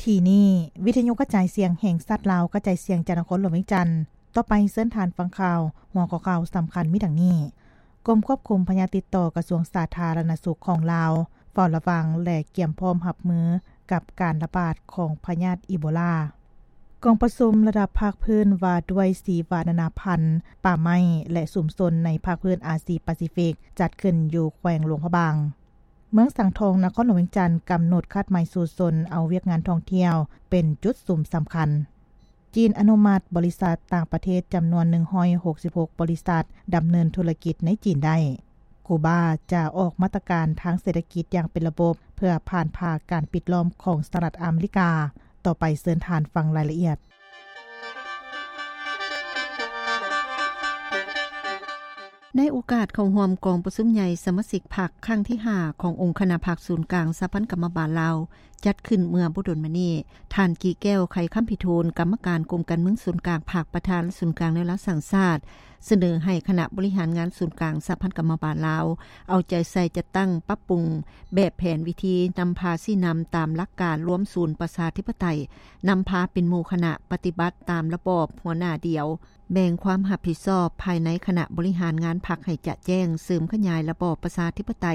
ກີ້ນີ້ ວິທະຍຸກະຈາຍສຽງແຫ່ງຊາດລາວ ກະຈາຍສຽງຈາກນະຄອນຫຼວງວຽງຈັນ. ຕໍ່ໄປເຊີນທ່ານຟັງຂ່າວ ຫົວຂໍ້ຂ່າວສຳຄັນມີດັ່ງນີ້: ກົມຄວບຄຸມພະຍາດຕິດຕໍ່ ກະຊວງສາທາລະນະສຸກຂອງລາວ ເຝົ້າລະວັງ ແລະ ກຽມພ້ອມຮັບມືກັບການລະບາດຂອງພະຍາດອີໂບລາ. ກອງປະຊຸມລະດັບພາກພື້ນວ່າດ້ວຍຊີວະນານາພັນ, ປ່າໄມ້ ແລະ ຊຸມຊົນໃນພາກພື້ນອາຊີປາຊີຟິກ ຈັດຂຶ້ນຢູ່ແຂວງຫຼວງພະບາງ. ເມືອງສັງທອງ ນະຄອນຫຼວງວຽງຈັນ ກຳນົດຄາດໝາຍສູ້ຊົນເອົາວຽກງານທ່ອງທ່ຽວເປັນຈຸດສຸມສຳຄັນ. ຈີນອະນຸມັດບໍລິສັດຕ່າງປະເທດຈຳນວນໜຶ່ງຮ້ອຍຫົກສິບຫົກບໍລິສັດດຳເນີນທຸລະກິດໃນຈີນໄດ້. ກູບາຈະອອກມາດຕະການທາງເສດຖະກິດຢ່າງເປັນລະບົບ ເພື່ອຜ່ານຜ່າການປິດລ້ອມຂອງສະຫະລັດອາເມລິກາ. ຕໍ່ໄປເຊີນທ່ານຟັງລາຍລະອຽດ. ໃນໂອກາດເຂົ້າຮ່ວມກອງປະຊຸມໃຫຍ່ສະມາຊິກພັກຄັ້ງທີຫ້າ ຂອງອົງຄະນະພັກສູນກາງສະຫະພັນກຳມະບານລາວ ຈັດຂຶ້ນເມື່ອບໍ່ດົນມານີ້, ທ່ານ ກີແກ້ວ ໄຂຄຳພິທູນ ກຳມະການກົມການເມືອງສູນກາງພັກ ປະທານສູນກາງແນວລາວສ້າງຊາດ ສະເໜີໃຫ້ຄະນະບໍລິຫານງານສູນກາງສະຫະພັນກຳມະບານລາວ ເອົາໃຈໃສ່ຈັດຕັ້ງປັບປຸງແບບແຜນວິທີນຳພາຊີ້ນຳຕາມຫຼັກການລວມສູນປະຊາທິປະໄຕ, ນຳພາເປັນໝູ່ຄະນະປະຕິບັດຕາມລະບອບຫົວໜ້າດຽວ, ແບ່ງຄວາມຮັບຜິດຊອບພາຍໃນຄະນະບໍລິຫານງານພັກໃຫ້ຈະແຈ້ງ, ເສີມຂະຫຍາຍລະບອບປະຊາທິປະໄຕ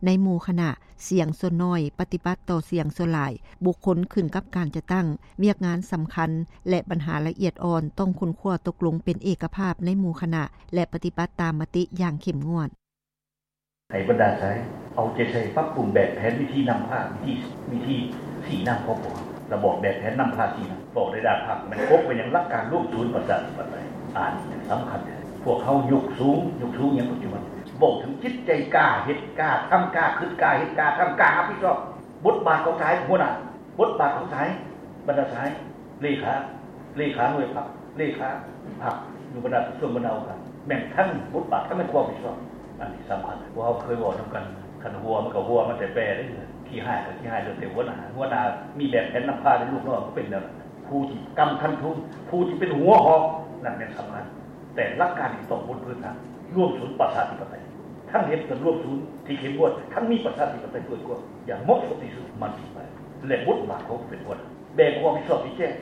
ໃນໝູ່ຄະນະ, ສຽງສ່ວນໜ້ອຍປະຕິບັດຕໍ່ສຽງສ່ວນຫຼາຍ, ບຸກຄົນຂຶ້ນກັບການຈັດຕັ້ງ, ວຽກງານສຳຄັນ ແລະ ບັນຫາລະອຽດອ່ອນຕ້ອງຄົ້ນຄວ້າຕົກລົງເປັນເອກະພາບໃນໝູ່ຄະນະ ແລະ ປະຕິບັດຕາມມະຕິຢ່າງເຂັ້ມງວດ. ໃຫ້ບັນດາສາຍເອົາໃຈໃສ່ປັບປຸງແບບແຜນວິທີນຳພາ, ວິທີ, ວິທີຊີ້ນຳຂອງພວກເຮົາ, ລະບອບແບບແຜນນຳພາຊີ້ນຳ. ເວົ້າໃນດ້ານພັກແມ່ນກົບໄປຍັງຫຼັກການລວມສູນປະຊາທິປະໄຕ, ອັນນີ້ສຳຄັນ. ພວກເຮົາຍົກສູງ, ຍົກສູງຫຍັງປັດຈຸບັນ? ເວົ້າເຖິງຈິດໃຈກ້າເຮັດ, ກ້າທຳ, ກ້າຄິດ, ກ້າເຮັດ, ກ້າທຳ, ກ້າຮັບຜິດຊອບ. ບົດບາດຂອງສາຍຫົວໜ້າ, ບົດບາດຂອງສາຍ, ບັນດາສາຍ, ເລຂາ, ເລຂາໜ່ວຍພັກ, ເລຂາພັກ, ຢູ່ບັນດາກະຊວງ, ບັນດາອົງການ, ແມ່ນທັງບົດບາດ ທັງແມ່ນຄວາມຮັບຜິດຊອບ. ອັນນີ້ສຳຄັນ. ພວກເຮົາເຄີຍເວົ້ານຳກັນ, ຄັນຫົວມັນກໍຫົວ, ມັນແຕ່ແປເດ້. ຂີ້ຮ້າຍກໍຂີ້ຮ້າຍ, ແລ້ວແຕ່ຫົວໜ້າ. ຫົວໜ້າມີແບບແຜນນຳພາ, ແຕ່ລູກນ້ອງກໍເປັນແນວນັ້ນ. ຜູ້ທີ່ກຳຄັນທຸງ, ຜູ້ທີ່ເປັນຫົວຫອກ, ນັ້ນແມ່ນສຳຄັນ. ແຕ່ຫຼັກການນີ້ຕ້ອງບົນພື້ນຖານລວມສູນປະຊາທິປະໄຕ, ທັງເຮັດເປັນລວມສູນທີ່ເຂັ້ມງວດ, ທັງມີປະຊາທິປະໄຕເປີດກວ້າງຢ່າງເໝາະສົມທີ່ສຸດ, ມັນຊິໄປ ແລະ ບົດບາດຂອງຜູ້ເປັນຫົວໜ້າ, ແບ່ງຄວາມຮັບຜິດຊອບທີ່ແຈ້ງ.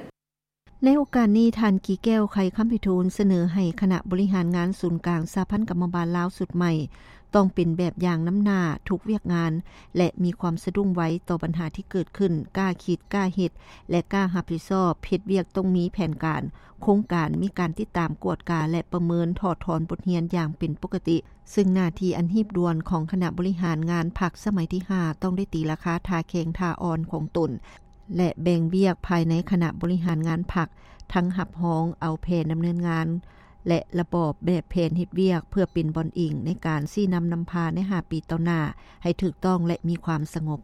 ໃນໂອກາດນີ້, ທ່ານ ກີແກ້ວ ໄຂຄຳພິທູນ ສະເໜີໃຫ້ຄະນະບໍລິຫານງານສູນກາງສະຫະພັນກຳມະບານລາວຊຸດໃໝ່ ຕ້ອງເປັນແບບຢ່າງນຳໜ້າທຸກວຽກງານ ແລະ ມີຄວາມສະດຸ້ງໄວຕໍ່ບັນຫາທີ່ເກີດຂຶ້ນ, ກ້າຄິດ, ກ້າເຮັດ ແລະ ກ້າຮັບຜິດຊອບ. ເຮັດວຽກຕ້ອງມີແຜນການ, ໂຄງການ, ມີການຕິດຕາມ, ກວດກາ ແລະ ປະເມີນ, ຖອດຖອນບົດຮຽນຢ່າງເປັນປົກກະຕິ, ເຊິ່ງໜ້າທີ່ອັນຮີບດ່ວນຂອງຄະນະບໍລິຫານງານພັກສະໄໝທີຫ້າ ຕ້ອງໄດ້ຕີລາຄາທ່າແຂງທ່າອ່ອນຂອງຕົນ ແລະ ແບ່ງວຽກພາຍໃນຄະນະບໍລິຫານງານພັກ, ທັງຮັບຮອງເອົາແຜນດຳເນີນງານ ແລະ ລະບອບແບບແຜນເຮັດວຽກ ເພື່ອເປັນບ່ອນອີງໃນການຊີ້ນຳນຳພາໃນຫ້າປີຕໍ່ໜ້າ ໃຫ້ຖືກຕ້ອງ ແລະ ມີຄວາມສະຫງົບ.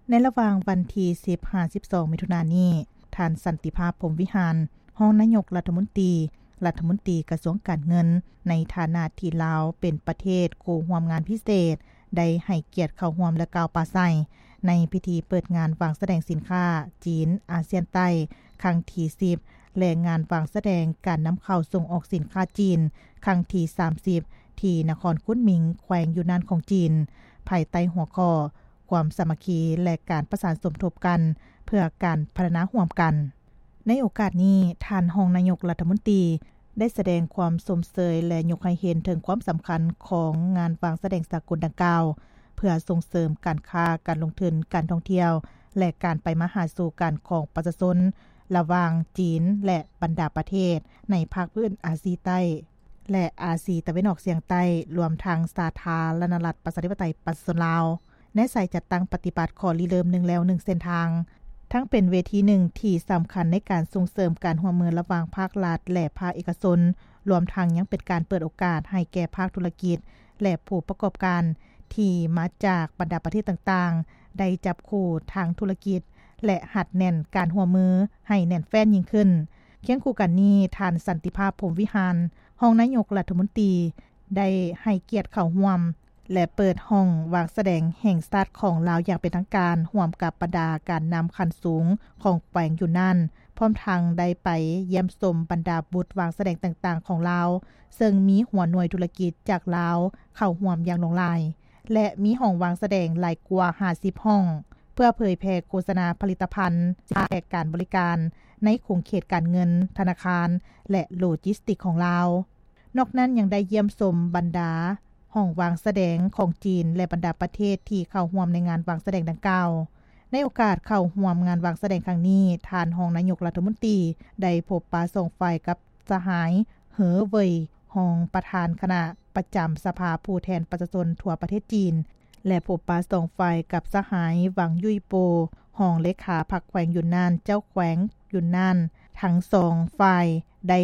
ໃນລະຫວ່າງວັນທີສິບຫາສິບສອງ ມິຖຸນານີ້, ທ່ານ ສັນຕິພາບ ພົມວິຫານ ຮອງນາຍົກລັດຖະມົນຕີ ລັດຖະມົນຕີກະຊວງການເງິນ ໃນຖານະທີ່ລາວເປັນປະເທດຄູ່ຮ່ວມງານພິເສດ ໄດ້ໃຫ້ກຽດເຂົ້າຮ່ວມ ແລະ ກ່າວປາໄສໃນພິທີເປີດງານວາງສະແດງສິນຄ້າຈີນອາຊຽນໃຕ້ ຄັ້ງທີສິບ ແລະ ງານວາງສະແດງການນຳເຂົ້າສົ່ງອອກສິນຄ້າຈີນ ຄັ້ງທີສາມສິບ ທີ່ນະຄອນຄຸນໝິງ ແຂວງຢູນານຂອງຈີນ, ພາຍໃຕ້ຫົວຂໍ້ ຄວາມສາມັກຄີ ແລະ ການປະສານສົມທົບກັນ ເພື່ອການພັດທະນາຮ່ວມກັນ. ໃນໂອກາດນີ້, ທ່ານຮອງນາຍົກລັດຖະມົນຕີ ໄດ້ສະແດງຄວາມຊົມເຊີຍ ແລະ ຍົກໃຫ້ເຫັນເຖິງຄວາມສຳຄັນຂອງງານວາງສະແດງສາກົນດັ່ງກ່າວ ເພື່ອສົ່ງເສີມການຄ້າ, ການລົງທຶນ, ການທ່ອງທ່ຽວ ແລະ ການໄປມາຫາສູ່ກັນຂອງປະຊາຊົນ ລະຫວ່າງຈີນ ແລະ ບັນດາປະເທດໃນພາກພື້ນອາຊີໃຕ້ ແລະ ອາຊີຕາເວັນອອກສຽງໃຕ້, ລວມທັງສາທາລະນະລັດ ປະຊາທິປະໄຕ ປະຊາຊົນລາວ ໃນສາຍຈັດຕັ້ງປະຕິບັດຂໍ້ລິເລີ່ມໜຶ່ງແລວໜຶ່ງເສັ້ນທາງ, ທັງເປັນເວທີໜຶ່ງທີ່ສຳຄັນໃນການສົ່ງເສີມການຮ່ວມມືລະຫວ່າງພາກລັດ ແລະ ພາກເອກະຊົນ, ລວມທັງຍັງເປັນການເປີດໂອກາດໃຫ້ແກ່ພາກທຸລະກິດ ແລະ ຜູ້ປະກອບການທີ່ມາຈາກບັນດາປະເທດຕ່າງໆ ໄດ້ຈັບຄູ່ທາງທຸລະກິດ ແລະ ຮັດແໜ້ນການຮ່ວມມືໃຫ້ແໜ້ນແຟ້ນຍິ່ງຂຶ້ນ. ຄຽງຄູ່ກັນນີ້, ທ່ານ ສັນຕິພາບ ພົມວິຫານ ຮອງນາຍົກລັດຖະມົນຕີ ໄດ້ໃຫ້ກຽດເຂົ້າຮ່ວມ ແລະ ເປີດຫ້ອງວາງສະແດງແຫ່ງຊາດຂອງລາວຢ່າງເປັນທາງການ ຮ່ວມກັບບັນດາການນຳຂັ້ນສູງຂອງແຂວງຢູນານ, ພ້ອມທັງໄດ້ໄປຢ້ຽມຊົມບັນດາບຸດວາງສະແດງຕ່າງໆຂອງລາວ, ເຊິ່ງມີຫົວໜ່ວຍທຸລະກິດຈາກລາວເຂົ້າຮ່ວມຢ່າງຫຼວງຫຼາຍ ແລະ ມີຫ້ອງວາງສະແດງຫຼາຍກວ່າຫ້າສິບຫ້ອງ. ເພື່ອເຜີຍແຜ່ໂຄສະນາຜະລິດຕະພັນ ແລະ ການບໍລິການໃນຂົງເຂດການເງິນ, ທະນາຄານ ແລະ ໂລຈິສຕິກຂອງລາວ. ນອກນັ້ນຍັງໄດ້ຢ້ຽມຊົມບັນດາຫ້ອງວາງສະແດງຂອງຈີນ ແລະ ບັນດາປະເທດທີ່ເຂົ້າຮ່ວມໃນງານວາງສະແດງດັ່ງກ່າວ. ໃນໂອກາດເຂົ້າຮ່ວມງານວາງສະແດງຄັ້ງນີ້, ທ່ານຮອງນາຍົກລັດຖະມົນຕີໄດ້ພົບປະສອງຝ່າຍກັບສະຫາຍ ເຫີ ເຫວີຍ ຮອງປະທານຄະນະປະຈຳສະພາຜູ້ແທນປະຊາຊົນທົ່ວປະເທດຈີນ ແລະ ພົບປະສອງຝ່າຍກັບສະຫາຍ ຫວັງ ຢຸ້ຍໂປ ຮອງເລຂາພັກແຂວງຢຸນນານ, ເຈົ້າແຂວງຢຸນນານ. ທັງສອງຝ່າຍໄດ້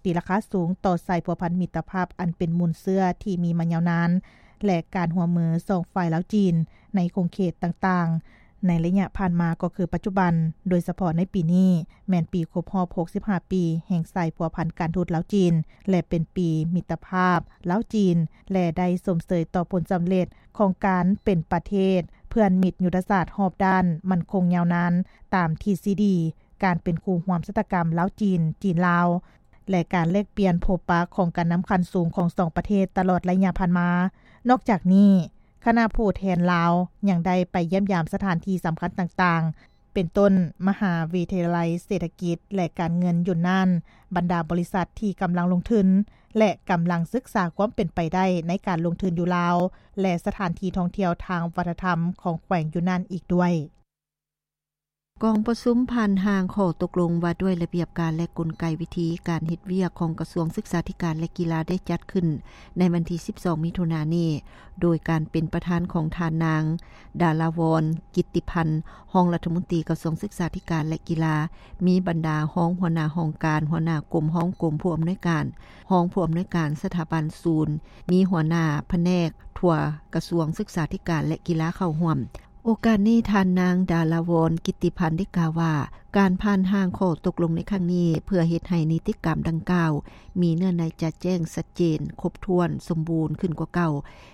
ຕີລາຄາສູງຕໍ່ສາຍພົວພັນມິດຕະພາບອັນເປັນມູນເຊື້ອທີ່ມີມາຍາວນານ ແລະ ການຮ່ວມມືສອງຝ່າຍລາວ-ຈີນໃນຂົງເຂດຕ່າງໆ ໃນໄລຍະຜ່ານມາກໍຄືປັດຈຸບັນ, ໂດຍສະເພາະໃນປີນີ້ແມ່ນປີຄົບຮອບຫົກສິບຫ້າປີແຫ່ງສາຍພົວພັນການທູດລາວ-ຈີນ ແລະ ເປັນປີມິດຕະພາບລາວ-ຈີນ ແລະ ໄດ້ຊົມເຊີຍຕໍ່ຜົນສຳເລັດຂອງການເປັນປະເທດເພື່ອນມິດຍຸດທະສາດຮອບດ້ານໝັ້ນຄົງຍາວນານ ຕາມທິດທິດການເປັນຄູ່ຮ່ວມຊະຕາກຳລາວ-ຈີນ, ຈີນ-ລາວ ແລະ ການແລກປ່ຽນພົບປະຂອງການນຳຂັ້ນສູງຂອງສອງປະເທດຕະຫຼອດໄລຍະຜ່ານມາ. ນອກຈາກນີ້, ຄະນະຜູ້ແທນລາວຍັງໄດ້ໄປຢ້ຽມຢາມສະຖານທີ່ສຳຄັນຕ່າງໆ ເປັນຕົ້ນ ມະຫາວິທະຍາໄລເສດຖະກິດ ແລະ ການເງິນຢຸນນານ, ບັນດາບໍລິສັດທີ່ກຳລັງລົງທຶນ ແລະ ກຳລັງສຶກສາຄວາມເປັນໄປໄດ້ໃນການລົງທຶນຢູ່ລາວ ແລະ ສະຖານທີ່ທ່ອງທ່ຽວທາງວັດທະນະທຳຂອງແຂວງຢຸນນານອີກດ້ວຍ. ກອງປະຊຸມຜ່ານຮ່າງຂໍ້ຕົກລົງວ່າດ້ວຍລະບຽບການ ແລະ ກົນໄກວິທີການເຮັດວຽກຂອງກະຊວງສຶກສາທິການ ແລະ ກິລາ ໄດ້ຈັດຂຶ້ນໃນວັນທີສິບສອງ ມິຖຸນານີ້ ໂດຍການເປັນປະທານຂອງທ່ານນາງ ດາລາວອນ ກິດຕິພັນ ຮອງລັດຖະມົນຕີກະຊວງສຶກສາທິການ ແລະ ກິລາ, ມີບັນດາຮອງຫົວໜ້າຫ້ອງການ, ຫົວໜ້າກົມ, ຮອງກົມ, ຜູ້ອຳນວຍການ, ຮອງຜູ້ອຳນວຍການສະຖາບັນສູນ, ມີຫົວໜ້າພະແນກທົ່ວກະຊວງສຶກສາທິການ ແລະ ກິລາເຂົ້າຮ່ວມ. ໂອກາດນີ້ ທ່ານນາງ ດາລາວອນ ກິດຕິພັນ ໄດ້ກ່າວວ່າ ການຜ່ານຮ່າງຂໍ້ຕົກລົງໃນຄັ້ງນີ້ ເພື່ອເຮັດໃຫ້ນິຕິກຳດັ່ງກ່າວມີເນື້ອໃນຈະແຈ້ງ, ຊັດເຈນ, ຄົບຖ້ວນ, ສົມບູນຂຶ້ນກວ່າເກົ່າ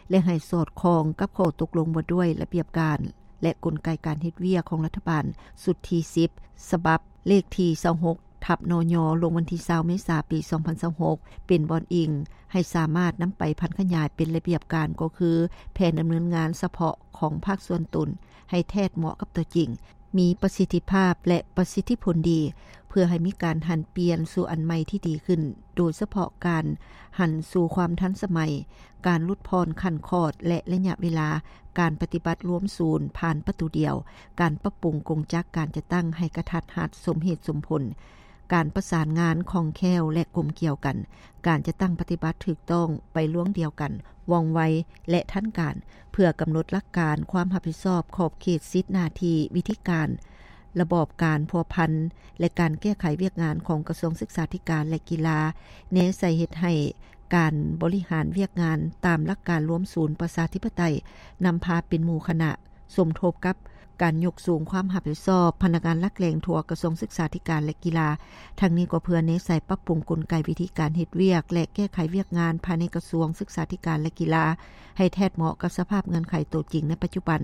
ແລະ ໃຫ້ສອດຄ່ອງກັບຂໍ້ຕົກລົງວ່າດ້ວຍລະບຽບການ ແລະ ກົນໄກການເຮັດວຽກຂອງລັດຖະບານຊຸດທີສິບ ສະບັບເລກທີຊາວຫົກ ທັບ ນຍ ລົງວັນທີຊາວ ເມສາ ປີສອງພັນຊາວຫົກ ເປັນບ່ອນອີງໃຫ້ສາມາດນຳໄປຜັນຂະຫຍາຍເປັນລະບຽບການ ກໍຄືແຜນດຳເນີນງານສະເພາະຂອງພາກສ່ວນຕົນ ໃຫ້ແທດເໝາະກັບຕົວຈິງ, ມີປະສິດທິພາບ ແລະ ປະສິດທິຜົນດີ, ເພື່ອໃຫ້ມີການຫັນປ່ຽນສູ່ອັນໃໝ່ທີ່ດີຂຶ້ນ, ໂດຍສະເພາະການຫັນສູ່ຄວາມທັນສະໄໝ, ການຫຼຸດຜ່ອນຂັ້ນຂອດ ແລະ ໄລຍະເວລາ, ການປະຕິບັດລວມສູນຜ່ານປະຕູດຽວ, ການປັບປຸງກົງຈັກການຈັດຕັ້ງໃຫ້ກະທັດຮັດສົມເຫດສົມຜົນ, ການປະສານງານຄ່ອງແຄ້ວ ແລະ ກົມກ່ຽວກັນ, ການຈັດຕັ້ງປະຕິບັດຖືກຕ້ອງໄປລວງດຽວກັນ, ວ່ອງໄວ ແລະ ທັນການ, ເພື່ອກຳນົດຫຼັກການຄວາມຮັບຜິດຊອບ, ຂອບເຂດ, ສິດ, ໜ້າທີ່, ວິທີການ, ລະບອບການພົວພັນ ແລະ ການແກ້ໄຂວຽກງານຂອງກະຊວງສຶກສາທິການ ແລະ ກິລາ, ແນໃສ່ເຮັດໃຫ້ການບໍລິຫານວຽກງານຕາມຫຼັກການລວມສູນປະຊາທິປະໄຕ, ນຳພາເປັນໝູ່ຄະນະ, ສົມທົບກັບການຍົກສູງຄວາມຮັບຜິດຊອບພະນັກງານຫຼັກແຫຼ່ງທົ່ວກະຊວງສຶກສາທິການ ແລະ ກິລາ. ທັງນີ້ກໍເພື່ອແນໃສ່ປັບປຸງກົນໄກວິທີການເຮັດວຽກ ແລະ ແກ້ໄຂວຽກງານພາຍໃນກະຊວງສຶກສາທິການ ແລະ ກິລາ ໃຫ້ແທດເໝາະກັບສະພາບເງື່ອນໄຂໂຕຈິງໃນປັດຈຸບັນ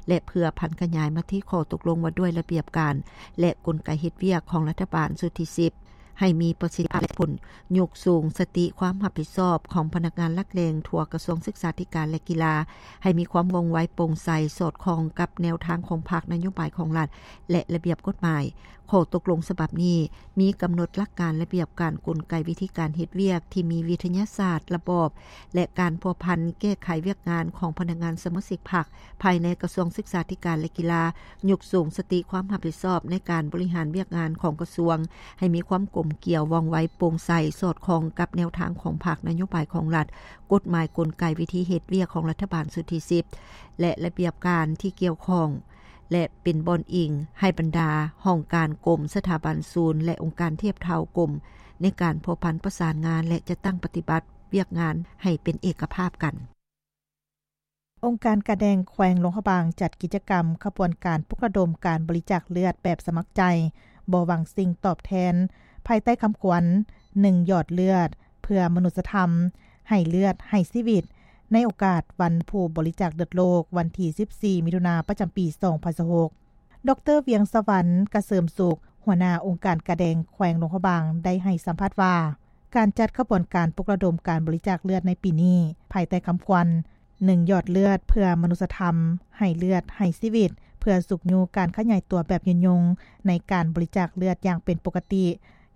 ແລະ ເພື່ອຜັນຂະຫຍາຍມະຕິຂໍ້ຕົກລົງວ່າດ້ວຍລະບຽບການ ແລະ ກົນໄກເຮັດວຽກຂອງລັດຖະບານຊຸດທີສິບ ໃຫ້ມີປະສິດທິພາບ ແລະ ຜົນ. ຍົກສູງສະຕິຄວາມຮັບຜິດຊອບຂອງພະນັກງານຫຼັກແຫຼ່ງທົ່ວກະຊວງສຶກສາທິການ ແລະ ກິລາ ໃຫ້ມີຄວາມວ່ອງໄວ, ໂປ່ງໃສ, ສອດຄ່ອງກັບແນວທາງຂອງພັກ, ນະໂຍບາຍຂອງລັດ ແລະ ລະບຽບກົດໝາຍ. ຂໍ້ຕົກລົງສະບັບນີ້ມີກຳນົດຫຼັກການ, ລະບຽບການ, ກົນໄກວິທີການເຮັດວຽກທີ່ມີວິທະຍາສາດ, ລະບອບ ແລະ ການພົວພັນແກ້ໄຂວຽກງານຂອງພະນັກງານສະມາຊິກພັກ ພາຍໃນກະຊວງສຶກສາທິການ ແລະ ກິລາ, ຍົກສູງສະຕິຄວາມຮັບຜິດຊອບໃນການບໍລິຫານວຽກງານຂອງກະຊວງ ໃຫ້ມີຄວາມກົມກຽວ, ວ່ອງໄວ, ໂປ່ງໃສ, ສອດຄ່ອງກັບແນວທາງຂອງພັກ, ນະໂຍບາຍຂອງລັດ, ກົດໝາຍ, ກົນໄກ, ວິທີເຮັດວຽກຂອງລັດຖະບານຊຸດທີສິບ ແລະ ລະບຽບການທີ່ກ່ຽວຂ້ອງ ແລະ ເປັນບ່ອນອີງໃຫ້ບັນດາຫ້ອງການ, ກົມ, ສະຖາບັນ, ສູນ ແລະ ອົງການທຽບເທົ່າກົມ ໃນການພົວພັນປະສານງານ ແລະ ຈັດຕັ້ງປະຕິບັດວຽກງານໃຫ້ເປັນເອກະພາບກັນ. ອົງການກາແດງແຂວງຫຼວງພະບາງ ຈັດກິດຈະກຳຂະບວນການປຸກລະດົມການບໍລິຈາກເລືອດແບບສະໝັກໃຈ ບໍ່ຫວັງສິ່ງຕອບແທນ ພາຍໃຕ້ຄຳຂວັນ ໜຶ່ງ ຢອດເລືອດ ເພື່ອມະນຸດສະທຳ ໃຫ້ເລືອດ ໃຫ້ຊີວິດ ໃນໂອກາດວັນຜູ້ບໍລິຈາກເລືອດໂລກ ວັນທີສິບສີ່ ມິຖຸນາ ປະຈຳປີສອງພັນຊາວຫົກ. ດອກເຕີ ວຽງສະຫວັນ ກະເສີມສຸກ ຫົວໜ້າອົງການກາແດງແຂວງຫຼວງພະບາງ ໄດ້ໃຫ້ສຳພາດວ່າ ການຈັດຂະບວນການປຸກລະດົມການບໍລິຈາກເລືອດໃນປີນີ້ ພາຍໃຕ້ຄຳຂວັນ ໜຶ່ງ ຢອດເລືອດ ເພື່ອມະນຸດສະທຳ ໃຫ້ເລືອດ ໃຫ້ຊີວິດ ເ ພື່ອຊຸກຍູ້ການຂະຫຍາຍຕົວແບບຍືນຍົງໃນການບໍລິຈາກເລືອດຢ່າງເປັນປົກກະຕິ,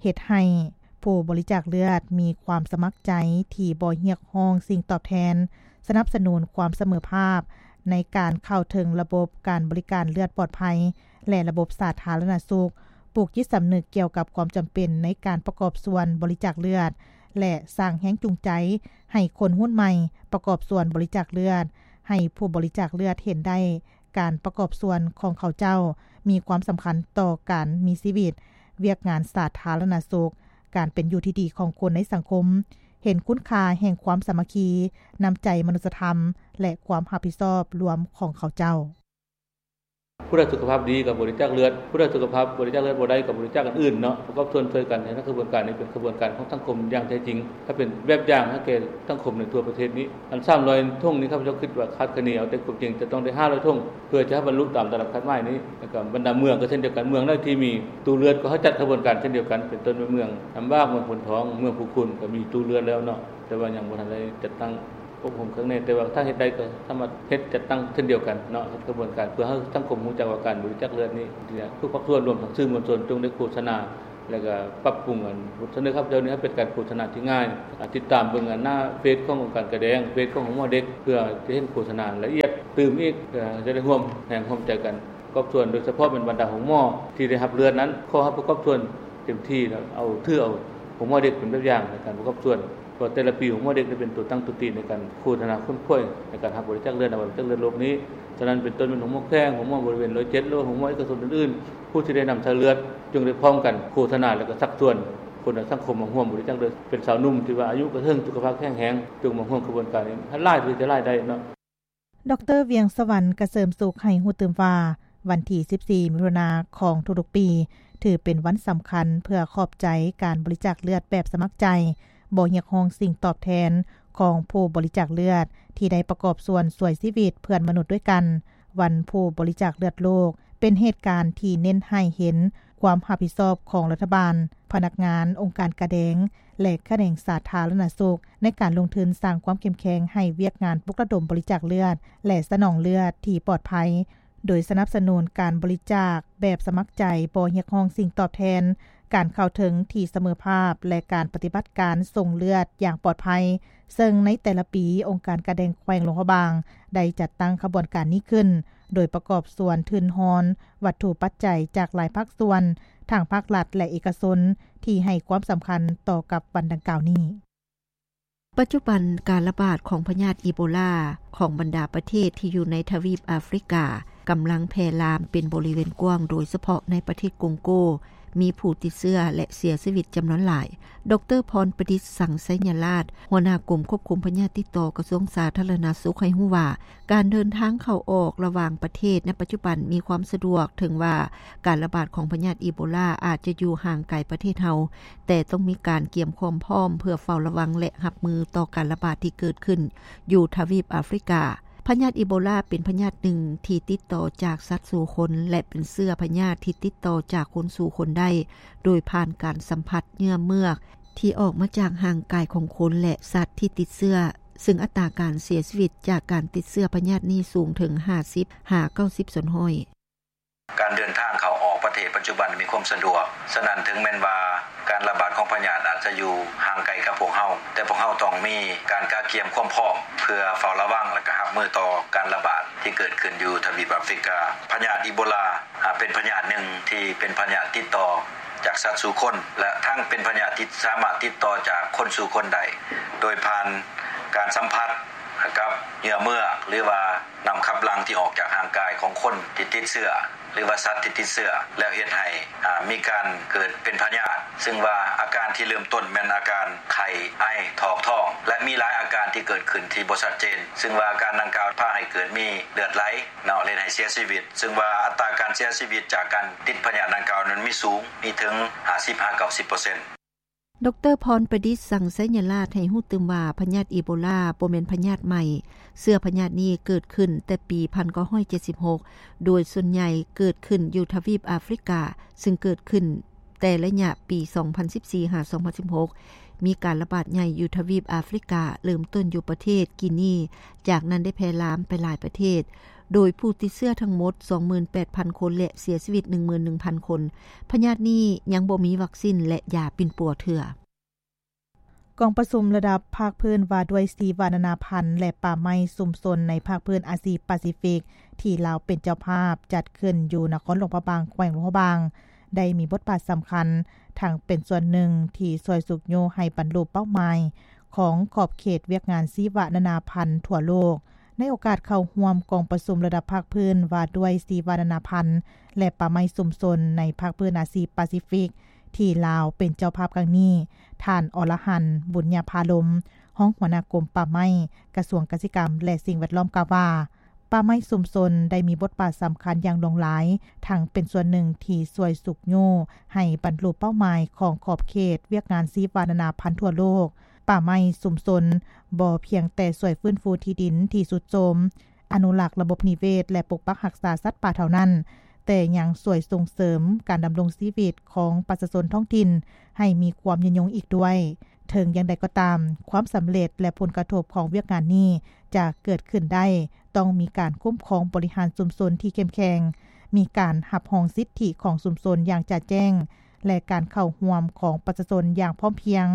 ເຮັດໃຫ້ຜູ້ບໍລິຈາກເລືອດມີຄວາມສະໝັກໃຈທີ່ບໍ່ຮຽກຮ້ອງສິ່ງຕອບແທນ, ສະໜັບສະໜູນຄວາມສະເໝີພາບໃນການເຂົ້າເຖິງລະບົບການບໍລິການເລືອດປອດໄພ ແລະ ລະບົບສາທາລະນະສຸກ, ປູກຈິດສຳນຶກກ່ຽວກັບຄວາມຈຳເປັນໃນການປະກອບສ່ວນບໍລິຈາກເລືອດ ແລະ ສ້າງແຮງຈູງໃຈໃຫ້ຄົນຮຸ່ນໃໝ່ປະກອບສ່ວນບໍລິຈາກເລືອດ, ໃຫ້ຜູ້ບໍລິຈາກເລືອດເຫັນໄດ້ ການປະກອບສ່ວນຂອງເຂົາເຈົ້າມີຄວາມສຳຄັນຕໍ່ການມີຊີວິດ, ວຽກງານສາທາລະນະສຸກ, ການເປັນຢູ່ທີ່ດີຂອງຄົນໃນສັງຄົມ, ເຫັນຄຸນຄ່າແຫ່ງຄວາມສາມັກຄີ, ນ້ຳໃຈມະນຸດສະທຳ ແລະ ຄວາມຮັບຜິດຊອບລວມຂອງເຂົາເຈົ້າ. ຜູ້ໃດສຸຂະພາບດີກໍບໍລິຈາກເລືອດ, ຜູ້ໃດສຸຂະພາບບໍລິຈາກເລືອດບໍ່ໄດ້ກໍບໍລິຈາກອັນອື່ນເນາະ, ປະກອບສ່ວນຊ່ວຍກັນໃຫ້ຂະບວນການນີ້ເປັນຂະບວນການຂອງສັງຄົມຢ່າງແທ້ຈິງ, ໃຫ້ເປັນແບບຢ່າງໃຫ້ແກ່ສັງຄົມໃນທົ່ວປະເທດນີ້. ອັນສາມຮ້ອຍຖົງນີ້ ຂ້າພະເຈົ້າຄິດວ່າຄາດຄະເນເອົາແຕ່ຄວາມຈິງຈະຕ້ອງໄດ້ຫ້າຮ້ອຍຖົງ ເພື່ອຈະໃຫ້ບັນລຸຕາມຕະຫຼາດຄາດໝາຍນີ້. ແລ້ວກໍບັນດາເມືອງກໍເຊັ່ນດຽວກັນ, ເມືອງໃດທີ່ມີຕູ້ເລືອດກໍໃຫ້ຈັດຂະບວນການເຊັ່ນດຽວກັນ, ເປັນຕົ້ນແມ່ນເມືອງນ້ຳບາກ, ເມືອງໂພນທອງ, ເມືອງພູຄູນ ກໍມີຕູ້ເລືອດແລ້ວເນາະ, ແຕ່ວ່າຍັງບໍ່ທັນໄດ້ຈັດຕັ້ງອົບຮົມຄັກແນ່, ແຕ່ວ່າຖ້າເຮັດໄດ້ກໍສາມາດເຮັດຈັດຕັ້ງເຊັ່ນດຽວກັນເນາະ, ເຮັດຂະບວນການເພື່ອໃຫ້ສັງຄົມຮູ້ຈັກວ່າການບໍລິຈາກເລືອດນີ້ ທຸກພາກສ່ວນ ລວມທັງສື່ມວນຊົນ ຈົ່ງໄດ້ໂຄສະນາ ແລ້ວກໍປັບປຸງອັນບົດສະເໜີຂ້າພະເຈົ້ານີ້ໃຫ້ເປັນການໂຄສະນາທີ່ງ່າຍ. ອາ ຕິດຕາມເບິ່ງອັນໜ້າເຟສຂອງອົງການກາແດງ, ເຟສຂອງໂຮງໝໍເດັກ ເພື່ອຈະເຫັນໂຄສະນາລະອຽດຕື່ມອີກ, ເພື່ອຈະໄດ້ຮ່ວມແຮງຮ່ວມໃຈກັນປະກອບສ່ວນ, ໂດຍສະເພາະແມ່ນບັນດາໂຮງໝໍທີ່ໄດ້ຮັບເລືອດນັ້ນ ຂໍໃຫ້ປະກອບສ່ວນເຕັມທີ່ ແລ້ວເອົາ ຖືເອົາໂຮງໝໍເດັກເປັນແບບຢ່າງໃນການປະກອບສ່ວນ. ເພາະແຕ່ລະປີໂຮງໝໍເດັກໄດ້ເປັນຕົວຕັ້ງຕົວຕີໃນການໂຄສະນາຄົ້ນຄວ້າໃນການຮັບບໍລິຈາກເລືອດໃນວັນບໍລິຈາກເລືອດໂລກນີ້. ສະນັ້ນເປັນຕົ້ນແມ່ນໂຮງໝໍແຂວງ, ໂຮງໝໍບໍລິເວນຮ້ອຍເຈັດ ຫຼືວ່າໂຮງໝໍເອກະຊົນອື່ນໆ, ຜູ້ທີ່ໄດ້ນຳໃຊ້ເລືອດຈຶ່ງໄດ້ພ້ອມກັນໂຄສະນາ ແລະ ກໍຊັກຊວນຄົນໃນສັງຄົມມາຮ່ວມບໍລິຈາກເລືອດ, ເປັນຊາວໜຸ່ມທີ່ວ່າອາຍຸກໍເຖິງ, ສຸຂະພາບແຂງແຮງ, ຈົ່ງມາຮ່ວມຂະບວນການນີ້ໃຫ້ຫຼາຍທີ່ຈະຫຼາຍໄດ້ເນາະ. ດຣ. ວຽງສະຫວັນ ກະເສີມສຸກ ໃຫ້ຮູ້ຕື່ມວ່າ ວັນທີສິບສີ່ ມິຖຸນາຂອງທຸກໆປີ ຖືເປັນວັນສຳຄັນເພື່ອຂອບໃຈການບໍລິຈາກເລືອດແບບສະໝັກໃຈ, ບໍ່ຮຽກຮ້ອງສິ່ງຕອບແທນຂອງຜູ້ບໍລິຈາກເລືອດທີ່ໄດ້ປະກອບສ່ວນຊ່ວຍຊີວິດເພື່ອນມະນຸດດ້ວຍກັນ. ວັນຜູ້ບໍລິຈາກເລືອດໂລກ ເປັນເຫດການທີ່ເນັ້ນໃຫ້ເຫັນຄວາມຮັບຜິດຊອບຂອງລັດຖະບານ, ພະນັກງານ, ອົງການກາແດງ ແລະ ຂະແໜງສາທາລະນະສຸກ ໃນການລົງທຶນສ້າງຄວາມເຂັ້ມແຂງໃຫ້ວຽກງານປຸກລະດົມບໍລິຈາກເລືອດ ແລະ ສະໜອງເລືອດທີ່ປອດໄພ, ໂດຍສະໜັບສະໜູນການບໍລິຈາກແບບສະໝັກໃຈ, ບໍ່ຮຽກຮ້ອງສິ່ງຕອບແທນ, ການເຂົ້າເຖິງທີ່ສະເໝີພາບ ແລະ ການປະຕິບັດການສົ່ງເລືອດຢ່າງປອດໄພ, ເຊິ່ງໃນແຕ່ລະປີ ອົງການກາແດງແຂວງຫຼວງພະບາງ ໄດ້ຈັດຕັ້ງຂະບວນການນີ້ຂຶ້ນ ໂດຍປະກອບສ່ວນທຶນຮອນວັດຖຸປັດໄຈຈາກຫຼາຍພາກສ່ວນ, ທັງພາກລັດ ແລະ ເອກະຊົນ ທີ່ໃຫ້ຄວາມສຳຄັນຕໍ່ກັບວັນດັ່ງກ່າວນີ້. ປັດຈຸບັນການລະບາດຂອງພະຍາດອີໂບລາຂອງບັນດາປະເທດທີ່ຢູ່ໃນທະວີບອາຟຣິກາ ກຳລັງແຜ່ລາມເປັນບໍລິເວນກວ້າງ, ໂດຍສະເພາະໃນປະເທດກົງໂກ ມີຜູ້ຕິດເຊື້ອ ແລະ ເສຍຊີວິດຈຳນວນຫຼາຍ. ດຣ. ພອນປະດິດ ສັງໄຊຍະລາດ, ຫົວໜ້າກົມຄວບຄຸມພະຍາດຕິດຕໍ່ ກະຊວງສາທາລະນະສຸກ ໃຫ້ຮູ້ວ່າ ການເດີນທາງເຂົ້າອອກລະຫວ່າງປະເທດໃນປັດຈຸບັນມີຄວາມສະດວກ, ເຖິງວ່າການລະບາດຂອງພະຍາດອີໂບລາອາດຈະຢູ່ຫ່າງໄກປະເທດເຮົາ, ແຕ່ຕ້ອງມີການກຽມຄວາມພ້ອມເພື່ອເຝົ້າລະວັງ ແລະ ຮັບມືຕໍ່ການລະບາດທີ່ເກີດຂຶ້ນຢູ່ທະວີບອາຟຣິກາ. ພະຍາດອີໂບລາເປັນພະຍາດໜຶ່ງທີ່ຕິດຕໍ່ຈາກສັດສູ່ຄົນ ແລະ ເປັນເຊື້ອພະຍາດທີ່ຕິດຕໍ່ຈາກຄົນສູ່ຄົນໄດ້ ໂດຍຜ່ານການສຳຜັດເຫຍື່ອເມືອກທີ່ອອກມາຈາກຮ່າງກາຍຂອງຄົນ ແລະ ສັດທີ່ຕິດເຊື້ອ, ເຊິ່ງອັດຕາການເສຍຊີວິດຈາກການຕິດເຊື້ອພະຍາດນີ້ສູງເຖິງຫ້າສິບຫາເກົ້າສິບສ່ວນຮ້ອຍ. ການເດີນທາງເຂົ້າອອກປະເທດປັດຈຸບັນມີຄວາມສະດວກ, ສະນັ້ນເຖິງແມ່ນວ່າການລະບາດຂອງພະຍາດອາດຈະຢູ່ຫ່າງໄກກັບພວກເຮົາ, ແຕ່ພວກເຮົາຕ້ອງມີການກະກຽມຄວາມພ້ອມເພື່ອເຝົ້າລະວັງ ແລະ ກະຮັບມືຕໍ່ການລະບາດທີ່ເກີດຂຶ້ນຢູ່ທະວີບອາຟຣິກາ. ພະຍາດອີໂບລາ ອາ ເປັນພະຍາດໜຶ່ງທີ່ເປັນພະຍາດຕິດຕໍ່ຈາກສັດສູ່ຄົນ ແລະ ທັງເປັນພະຍາດທີ່ສາມາດຕິດຕໍ່ຈາກຄົນສູ່ຄົນໄດ້ ໂດຍຜ່ານການສຳຜັດກັບເຫຍື່ອເມືອກ ຫຼືວ່າ ນ້ຳຂັບຫຼັ່ງທີ່ອອກຈາກຮ່າງກາຍຂອງຄົນທີ່ຕິດເຊື້ອ ຫຼືວ່າສັດທີ່ຕິດເຊື້ອ ແລ້ວເຮັດໃຫ້ ອາ ມີການເກີດເປັນພະຍາດ, ເຊິ່ງວ່າອາການທີ່ເລີ່ມຕົ້ນແມ່ນອາການໄຂ້, ໄອ, ຖອກທ້ອງ ແລະ ມີຫຼາຍອາການທີ່ເກີດຂຶ້ນທີ່ບໍ່ຊັດເຈນ, ເຊິ່ງວ່າອາການດັ່ງກ່າວພາໃຫ້ເກີດມີເລືອດໄຫຼເນາະ ແລະ ເຮັດໃຫ້ເສຍຊີວິດ, ເຊິ່ງວ່າອັດຕາການເສຍຊີວິດຈາກການຕິດພະຍາດດັ່ງກ່າວນັ້ນມີສູງ, ມີເຖິງຫ້າສິບຫາເກົ້າສິບເປີເຊັນ. ດຣ. ພອນປະດິດ ສັງໄຊຍະລາດ ໃຫ້ຮູ້ຕື່ມວ່າ ພະຍາດອີໂບລາບໍ່ແມ່ນພະຍາດໃໝ່. ເຊື້ອພະຍາດນີ້ເກີດຂຶ້ນແຕ່ປີພັນເກົ້າຮ້ອຍເຈັດສິບຫົກ ໂດຍສ່ວນໃຫຍ່ເກີດຂຶ້ນຢູ່ທະວີບອາຟຣິກາ, ເຊິ່ງເກີດຂຶ້ນແຕ່ໄລຍະປີສອງພັນສິບສີ່ຫາສອງພັນສິບຫົກ ມີການລະບາດໃຫຍ່ຢູ່ທະວີບອາຟຣິກາ, ເລີ່ມຕົ້ນຢູ່ປະເທດກີນີ, ຈາກນັ້ນໄດ້ແຜ່ລາມໄປຫຼາຍປະເທດ, ໂດຍຜູ້ຕິດເຊື້ອທັງໝົດ ສອງໝື່ນແປດພັນຄົນ ແລະ ເສຍຊີວິດ ໜຶ່ງໝື່ນໜຶ່ງພັນຄົນ. ພະຍາດນີ້ຍັງບໍ່ມີວັກຊິນ ແລະ ຢາປິ່ນປົວເທື່ອ. ກອງປະຊຸມລະດັບພາກພື້ນວ່າດ້ວຍຊີວະນານາພັນ ແລະ ປ່າໄມ້ຊຸມຊົນໃນພາກພື້ນອາຊີປາຊີຟິກ ທີ່ລາວເປັນເຈົ້າພາບ ຈັດຂຶ້ນຢູ່ນະຄອນຫຼວງພະບາງ, ແຂວງຫຼວງພະບາງ, ໄດ້ມີບົດບາດສຳຄັນ ທັງເປັນສ່ວນໜຶ່ງທີ່ຊ່ວຍຊຸກຍູ້ໃຫ້ບັນລຸເປົ້າໝາຍຂອງຂອບເຂດວຽກງານຊີວະນານາພັນທົ່ວໂລກ. ໃນໂອກາດເຂົ້າຮ່ວມກອງປະຊຸມລະດັບພາກພື້ນວ່າດ້ວຍຊີວະນານາພັນ ແລະ ປ່າໄມ້ຊຸມຊົນໃນພາກພື້ນອາຊີປາຊີຟິກ ທີ່ລາວເປັນເຈົ້າພາບຄັ້ງນີ້, ທ່ານ ອລະຫັນ ບຸນຍາພາລົມ, ຮອງຫົວໜ້າກົມປ່າໄມ້, ກະຊວງກະສິກຳ ແລະ ສິ່ງແວດລ້ອມ ກ່າວວ່າ, ປ່າໄມ້ຊຸມຊົນໄດ້ມີບົດບາດສຳຄັນຢ່າງຫຼວງຫຼາຍ, ທັງເປັນສ່ວນໜຶ່ງທີ່ຊ່ວຍຊຸກຍູ້ໃຫ້ບັນລຸເປົ້າໝາຍຂອງຂອບເຂດວຽກງານຊີວະນານາພັນທົ່ວໂລກ. ປ່າໄມ້ຊຸມຊົນບໍ່ພຽງແຕ່ຊ່ວຍຟື້ນຟູທີ່ດິນທີ່ຊຸດໂຊມ, ອະນຸລັກລະບົບນິເວດ ແລະ ປົກປັກຮັກສາສັດປ່າເທົ່ານັ້ນ, ແຕ່ຍັງຊ່ວຍສົ່ງເສີມການດຳລົງຊີວິດຂອງປະຊາຊົນທ້ອງຖິ່ນໃຫ້ມີຄວາມຍືນຍົງອີກດ້ວຍ. ເຖິງຢ່າງໃດກໍຕາມ, ຄວາມສຳເລັດ ແລະ ຜົນກະທົບຂອງວຽກງານນີ້ຈະເກີດຂຶ້ນໄດ້, ຕ້ອງມີການຄຸ້ມຄອງບໍລິຫານຊຸມຊົນທີ່ເຂັ້ມແຂງ, ມີການຮັບຮອງສິດທິຂອງຊຸມຊົນຢ່າງຈະແຈ້ງ ແລະ ການເຂົ້າຮ່ວມຂອງປະຊາຊົນຢ່າງພ້ອມພຽງ,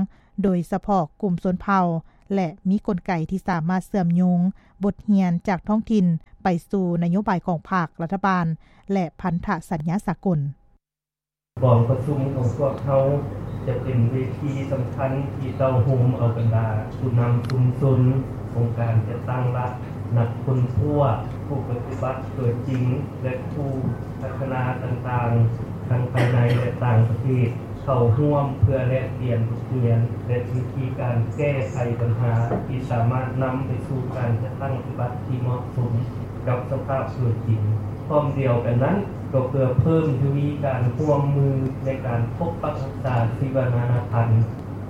ໂດຍສະເພາະກຸ່ມຊົນເຜົ່າ ແລະ ມີກົນໄກທີ່ສາມາດເຊື່ອມໂຍງບົດຮຽນຈາກທ້ອງຖິ່ນໄປສູ່ນະໂຍບາຍຂອງພັກ, ລັດຖະບານ ແລະ ພັນທະສັນຍາສາກົນ. ກອງປະຊຸມຂອງພວກເຮົາຈະເປັນເວທີສຳຄັນທີ່ເຕົ້າໂຮມເອົາບັນດາຜູ້ນຳຊຸມຊົນ, ອົງການຈັດຕັ້ງລັດ, ນັກຄົ້ນຄວ້າ, ຜູ້ປະຕິບັດຕົວຈິງ ແລະ ຜູ້ພັດທະນາຕ່າງໆ ທັງພາຍໃນ ແລະ ຕ່າງປະເທດ ເຂົ້າຮ່ວມເພື່ອແລກປ່ຽນບົດຮຽນ ແລະ ວິທີການແກ້ໄຂບັນຫາທີ່ສາມາດນຳໄປສູ່ການຈັດຕັ້ງປະຕິບັດທີ່ເໝາະສົມກັບສະພາບຕົວຈິງ. ພ້ອມດຽວກັນນັ້ນ, ກໍເພື່ອເພີ່ມທະວີການຮ່ວມມືໃນການປົກປັກຮັກສາຊີວະນານາພັນ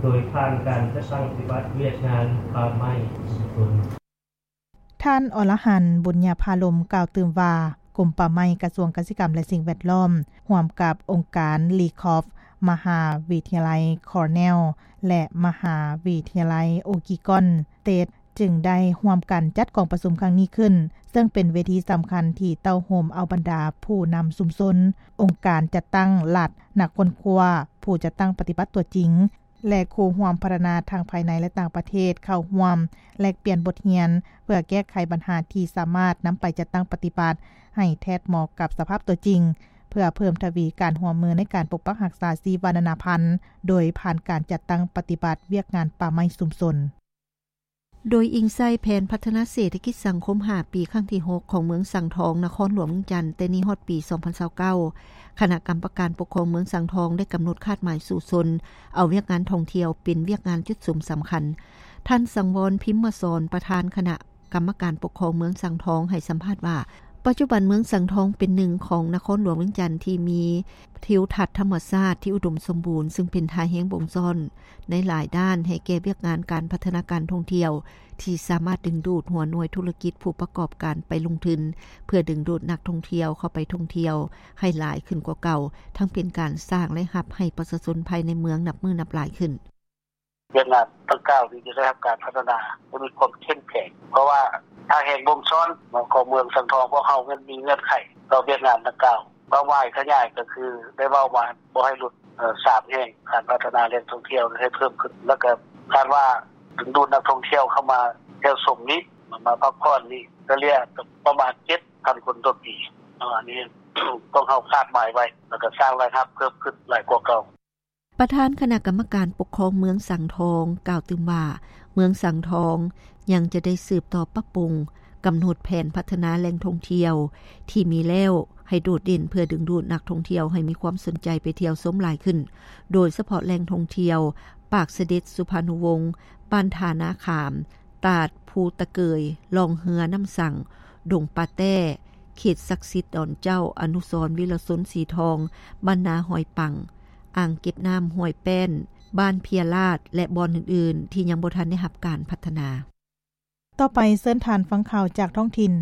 ໂດຍຜ່ານການຈັດຕັ້ງປະຕິບັດວຽກງານປ່າໄມ້ຊຸມຊົນ. ທ່ານ ອລະຫັນ ບຸນຍາພາລົມ ກ່າວຕື່ມວ່າ, ກົມປ່າໄມ້, ກະຊວງກະສິກຳ ແລະ ສິ່ງແວດລ້ອມ ຮ່ວມກັບອົງການ RECOFF, ມະຫາວິທະຍາໄລ Cornell ແລະ ມະຫາວິທະຍາໄລ Oregon State ຈຶ່ງໄດ້ຮ່ວມກັນຈັດກອງປະຊຸມຄັ້ງນີ້ຂຶ້ນ, ເຊິ່ງເປັນເວທີສຳຄັນທີ່ເຕົ້າໂຮມເອົາບັນດາຜູ້ນຳຊຸມຊົນ, ອົງການຈັດຕັ້ງລັດ, ນັກຄົ້ນຄວ້າ, ຜູ້ຈັດຕັ້ງປະຕິບັດຕົວຈິງ ແລະ ຄູ່ຮ່ວມພັດທະນາທັງພາຍໃນ ແລະ ຕ່າງປະເທດເຂົ້າຮ່ວມແລກປ່ຽນບົດຮຽນ ເພື່ອແກ້ໄຂບັນຫາທີ່ສາມາດນຳໄປຈັດຕັ້ງປະຕິບັດໃຫ້ແທດເໝາະກັບສະພາບຕົວຈິງ, ເພື່ອເພີ່ມທະວີການຮ່ວມມືໃນການປົກປັກຮັກສາຊີວະນານາພັນ ໂດຍຜ່ານການຈັດຕັ້ງປະຕິບັດວຽກງານປ່າໄມ້ຊຸມຊົນ. ໂດຍອີງໃສ່ແຜນພັດທະນາເສດຖະກິດສັງຄົມຫ້າປີ ຄັ້ງທີຫົກ ຂອງເມືອງສັງທອງ ນະຄອນຫຼວງວຽງຈັນ ແຕ່ນີ້ຮອດປີສອງພັນຊາວເກົ້າ, ຄະນະກຳມະການປົກຄອງເມືອງສັງທອງໄດ້ກຳນົດຄາດໝາຍສູ້ຊົນ ເອົາວຽກງານທ່ອງທ່ຽວເປັນວຽກງານຈຸດສຸມສຳຄັນ. ທ່ານ ສັງວອນ ພິມມະສອນ ປະທານຄະນະ ກຳມະການປົກຄອງເມືອງສັງທອງໃຫ້ສຳພາດວ່າ, ປັດຈຸບັນເມືອງສັງທອງເປັນໜຶ່ງຂອງນະຄອນຫຼວງວຽງຈັນທີ່ມີທິວທັດທຳມະຊາດທີ່ອຸດົມສົມບູນ, ຊຶ່ງເປັນທ່າແຮງບົ່ງຊ້ອນໃນຫຼາຍດ້ານໃຫ້ແກ່ວຽກງານການພັດທະນາການທ່ອງທ່ຽວ ທີ່ສາມາດດຶງດູດຫົວໜ່ວຍທຸລະກິດຜູ້ປະກອບການໄປລົງທຶນ ເພື່ອດຶງດູດນັກທ່ອງທ່ຽວເຂົ້າໄປທ່ອງທ່ຽວໃຫ້ຫຼາຍຂຶ້ນກວ່າເກົ່າ, ທັງເປັນການສ້າງລາຍຮັບໃຫ້ປະຊາຊົນພາຍໃນເມືອງນັບມື້ນັບຫຼາຍຂຶ້ນ. ວຽກງານດັ່ງກ່າວນີ້ຈະໄດ້ຮັບການພັດທະນາ ແລະ ມີຄວາມເຂັ້ມແຂງ ເພາະວ່າທ່າແຮງບົ່ງຊ້ອນຂອງເມືອງສັງທອງພວກເຮົາແມ່ນມີເງື່ອນໄຂຕໍ່ວຽກງານດັ່ງກ່າວ. ເປົ້າໝາຍຂະຫຍາຍກໍຄືໄດ້ເວົ້າມາບໍ່ໃຫ້ຫຼຸດ ເອີ ສາມແຫ່ງ ການພັດທະນາແຫຼ່ງທ່ອງທ່ຽວໃຫ້ເພີ່ມຂຶ້ນ ແລ້ວກໍຄາດວ່າດຶງດູດນັກທ່ອງທ່ຽວເຂົ້າມາທ່ຽວຊົມນີ້ ມາພັກຜ່ອນນີ້ ສະເລ່ຍກໍປະມານເຈັດພັນຄົນຕໍ່ປີເນາະ. ອັນນີ້ພວກເຮົາຄາດໝາຍໄວ້ ແລ້ວກໍສ້າງລາຍຮັບເພີ່ມຂຶ້ນຫຼາຍກວ່າເກົ່າ. ປະທານຄະນະກຳມະການປົກຄອງເມືອງສັງທອງກ່າວຕື່ມວ່າ, ເມືອງສັງທອງຍັງຈະໄດ້ສືບຕໍ່ປັບປຸງ, ກຳນົດແຜນພັດທະນາແຫຼ່ງທ່ອງທ່ຽວທີ່ມີແລ້ວໃຫ້ໂດດເດັ່ນ ເພື່ອດຶງດູດນັກທ່ອງທ່ຽວໃຫ້ມີຄວາມສົນໃຈໄປທ່ຽວຊົມຫຼາຍຂຶ້ນ, ໂດຍສະເພາະແຫຼ່ງທ່ອງທ່ຽວປາກສະເດັດສຸພານຸວົງ, ບ້ານທ່ານາຂາມ, ຕາດພູຕະເກີຍ, ລ່ອງເຮືອນ້ຳສັງ, ດົງປາແຕ້, ເຂດສັກສິດດອນເຈົ້າ, ອະນຸສອນວິລະຊົນສີທອງ, ບ້ານນາຫ້ວຍປັງ, ອ່າງເກັບນ້ຳຫ້ວຍແປ້ນ, ບ້ານເພຍລາດ ແລະ ບ່ອນອື່ນໆ ທີ່ຍັງບໍ່ທັນໄດ້ຮັບການພັດທະນາ. ຕໍ່ໄປເຊີນທ່ານຟັງຂ່າວຈາກທ້ອງຖິ່ນ.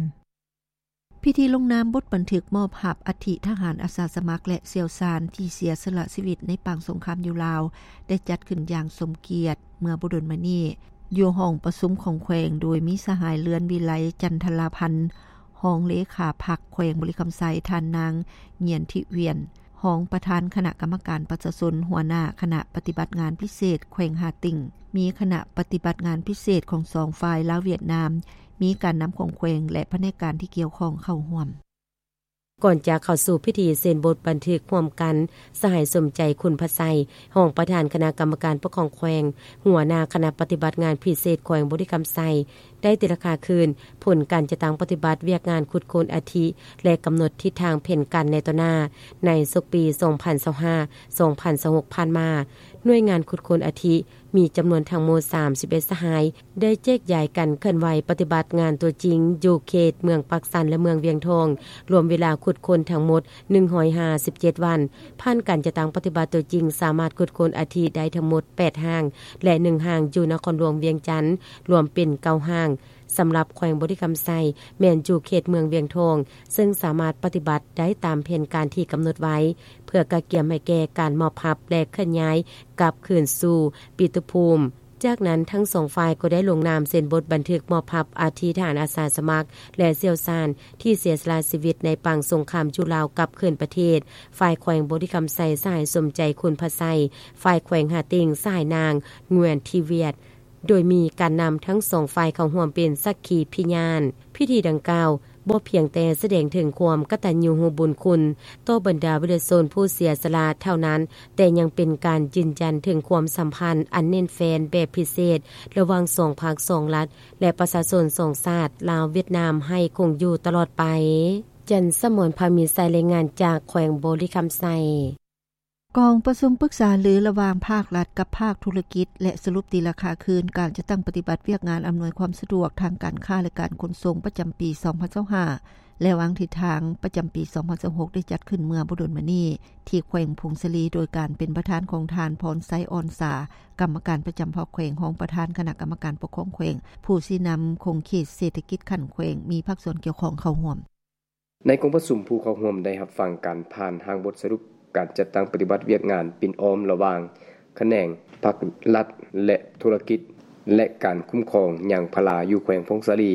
ພິທີລົງນາມບົດບັນທຶກມອບຮັບອັດຖິທະຫານອາສາສະໝັກ ແລະ ຊ່ຽວຊານທີ່ເສຍສະຫຼະຊີວິດໃນປາງສົງຄາມຢູ່ລາວ ໄດ້ຈັດຂຶ້ນຢ່າງສົມກຽດເມື່ອບໍ່ດົນມານີ້ ຢູ່ຫ້ອງປະຊຸມຂອງແຂວງ ໂດຍມີສະຫາຍ ເລື່ອນວິໄລ ຈັນທະລາພັນ ຮອງເລຂາພັກແຂວງບໍລິຄຳໄຊ, ທ່ານນາງ ງຽນທິວຽນ ຮອງປະທານຄະນະກຳມະການປະຊາຊົນ, ຫົວໜ້າຄະນະປະຕິບັດງານພິເສດແຂວງຫາຕິ່ງ, ມີຄະນະປະຕິບັດງານພິເສດຂອງສອງຝ່າຍ ລາວ-ຫວຽດນາມ, ມີການນຳຂອງແຂວງ ແລະ ພະແນກການທີ່ກ່ຽວຂ້ອງເຂົ້າຮ່ວມ. ກ່ອນຈະເຂົ້າສູ່ພິທີເຊັນບົດບັນທຶກຮ່ວມກັນ, ສະຫາຍ ສົມໃຈ ຄຸນພະໄຊ ຮອງປະທານຄະນະກຳມະການປົກຄອງແຂວງ, ຫົວໜ້າຄະນະປະຕິບັດງານພິເສດແຂວງບໍລິຄຳໄຊ ໄດ້ຕີລາຄາຄືນຜົນການຈັດຕັ້ງປະຕິບັດວຽກງານຂຸດຄົ້ນອັດຖິ ແລະ ກຳນົດທິດທາງແຜນການໃນຕໍ່ໜ້າ ໃນສົກປີສອງພັນຊາວຫ້າ ສອງພັນຊາວຫົກ ຜ່ານມາ. ໜ່ວຍງານຂຸດຄົ້ນອັດຖິ ມີຈຳນວນທັງໝົດສາມສິບເອັດສະຫາຍ ໄດ້ແຈກຢາຍກັນເຄື່ອນໄຫວປະຕິບັດງານຕົວຈິງ ຢູ່ເຂດເມືອງປາກຊັນ ແລະ ເມືອງວຽງທອງ, ລວມເວລາຂຸດຄົ້ນທັງໝົດໜຶ່ງຮ້ອຍຫ້າສິບເຈັດວັນ. ຜ່ານການຈັດຕັ້ງປະຕິບັດຕົວຈິງ, ສາມາດຂຸດຄົ້ນອັດຖິໄດ້ທັງໝົດແປດຮ່າງ ແລະ ໜຶ່ງຮ່າງຢູ່ນະຄອນຫຼວງວຽງຈັນ, ລວມເປັນເກົ້າຮ່າງ. ສຳລັບແຂວງບໍລິຄຳໄຊ ແມ່ນຢູ່ເຂດເມືອງວຽງທອງ, ເຊິ່ງສາມາດປະຕິບັດໄດ້ຕາມແຜນການທີ່ກຳນົດໄວ້ ເພື່ອກະກຽມໃຫ້ແກ່ການມອບຮັບ ແລະ ເຄື່ອນຍ້າຍກັບຄືນສູ່ປິຕຸພູມ. ຈາກນັ້ນ, ທັງສອງຝ່າຍກໍໄດ້ລົງນາມເຊັນບົດບັນທຶກມອບຮັບອັດຖິທະຫານອາສາສະໝັກ ແລະ ຊ່ຽວຊານທີ່ເສຍສະຫຼະຊີວິດໃນປາງສົງຄາມຢູ່ລາວກັບຄືນປະເທດ. ຝ່າຍແຂວງບໍລິຄຳໄຊ ສະຫາຍ ສົມໃຈ ຄຸນພະໄຊ, ຝ່າຍແຂວງຫາຕິ່ງ ສະຫາຍ ນາງ ງວຽນ ທີວຽດ. ໂດຍມີການນຳທັງສອງຝ່າຍເຂົ້າຮ່ວມເປັນສັກຂີພິຍານ. ພິທີດັ່ງກ່າວບໍ່ພຽງແຕ່ສະແດງເຖິງຄວາມກະຕັນຍູຮູ້ບຸນຄຸນຕໍ່ບັນດາວິລະຊົນຜູ້ເສຍສະຫຼະເທົ່ານັ້ນ, ແຕ່ຍັງເປັນການຢືນຢັນເຖິງຄວາມສຳພັນອັນແໜ້ນແຟ້ນແບບພິເສດລະຫວ່າງສອງພັກສອງລັດ ແລະ ປະຊາຊົນສອງຊາດ ລາວ-ຫວຽດນາມ ໃຫ້ຄົງຢູ່ຕະຫຼອດໄປ. ຈັນສະໝອນ ພາມີໄຊ, ລາຍງານຈາກແຂວງບໍລິຄຳໄຊ. ກອງປະຊຸມປຶກສາລືລະຫວ່າງພາກລັດກັບພາກທຸລະກິດ ແລະ ສະຫຼຸບຕີລາຄາຄືນການຈັດຕັ້ງປະຕິບັດວຽກງານອຳນວຍຄວາມສະດວກທາງການຄ້າ ແລະ ການຂົນສົ່ງປະຈຳປີສອງພັນຊາວຫ້າ ແລະ ວາງທິດທາງປະຈຳປີສອງພັນຊາວຫົກ ໄດ້ຈັດຂຶ້ນເມື່ອບໍ່ດົນມານີ້ ທີ່ແຂວງຜົ້ງສາລີ ໂດຍການເປັນປະທານຂອງທ່ານ ພອນໄຊ ອ່ອນສາ ກຳມະການປະຈຳພັກແຂວງ, ຮອງປະທານຄະນະກຳມະການປົກຄອງແຂວງ, ຜູ້ຊີ້ນຳຂົງເຂດເສດຖະກິດຂັ້ນແຂວງ, ມີພາກສ່ວນກ່ຽວຂ້ອງເຂົ້າຮ່ວມ. ໃນກອງປະຊຸມ, ຜູ້ເຂົ້າຮ່ວມໄດ້ຮັບຟັງການຜ່ານຮ່າງບົດສະຫຼຸບການຈັດຕັ້ງປະຕິບັດວຽກງານປິ່ນອ້ອມລະຫວ່າງຂະແໜງພາກລັດ ແລະ ທຸລະກິດ ແລະ ການຄຸ້ມຄອງຍາງພາລາຢູ່ແຂວງຜົ້ງສາລີ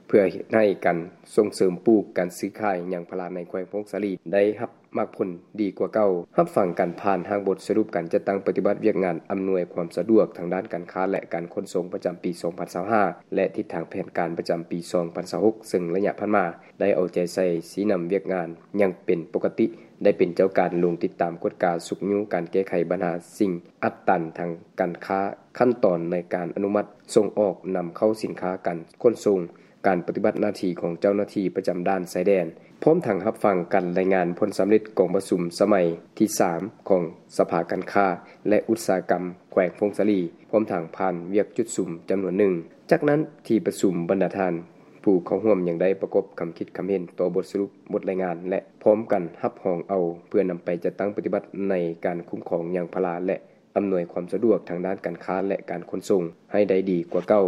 ເພື່ອເຮັດໃຫ້ການສົ່ງເສີມປູກ, ການຊື້ຂາຍຍາງພາລາໃນແຂວງຜົ້ງສາລີໄດ້ຮັບໝາກຜົນດີກວ່າເກົ່າ. ຮັບຟັງການຜ່ານຮ່າງບົດສະຫຼຸບການຈັດຕັ້ງປະຕິບັດວຽກງານອຳນວຍຄວາມສະດວກທາງດ້ານການຄ້າ ແລະ ການຂົນສົ່ງປະຈຳປີສອງພັນຊາວຫ້າ ແລະ ທິດທາງແຜນການປະຈຳປີສອງພັນຊາວຫົກ ເຊິ່ງໄລຍະຜ່ານມາ ໄດ້ເອົາໃຈໃສ່ຊີ້ນຳວຽກງານຢ່າງເປັນປົກກະຕິ, ໄດ້ເປັນເຈົ້າການລົງຕິດຕາມກວດກາຊຸກຍູ້ການແກ້ໄຂບັນຫາສິ່ງອັດຕັນທາງການຄ້າ, ຂັ້ນຕອນໃນການອະນຸມັດສົ່ງອອກນຳເຂົ້າສິນຄ້າ, ການຂົນສົ່ງ, ການປະຕິບັດໜ້າທີ່ຂອງເຈົ້າໜ້າທີ່ປະຈຳດ່ານຊາຍແດນ, ພ້ອມທັງຮັບຟັງການລາຍງານຜົນສຳເລັດກອງປະຊຸມສະໄໝທີສາມຂອງສະພາການຄ້າ ແລະ ອຸດສາຫະກຳແຂວງຜົ້ງສາລີ, ພ້ອມທັງຜ່ານວຽກຈຸດສຸມຈຳນວນໜຶ່ງ. ຈາກນັ້ນ, ທີ່ປະຊຸມບັນດາທ່ານ ຜູ້ເຂົ້າຮ່ວມຍັງໄດ້ປະກອບຄຳຄິດຄຳເຫັນຕໍ່ບົດສະຫຼຸບ, ບົດລາຍງານ ແລະ ພ້ອມກັນຮັບຮອງເອົາເພື່ອນຳໄປຈັດຕັ້ງປະຕິບັດໃນການຄຸ້ມຄອງຍາງພາລາ ແລະ ອຳນວຍຄວາມສະດວກທາງດ້ານການຄ້າ ແລະ ການຂົນສົ່ງໃຫ້ໄດ້ດີກວ່າເກົ່າ.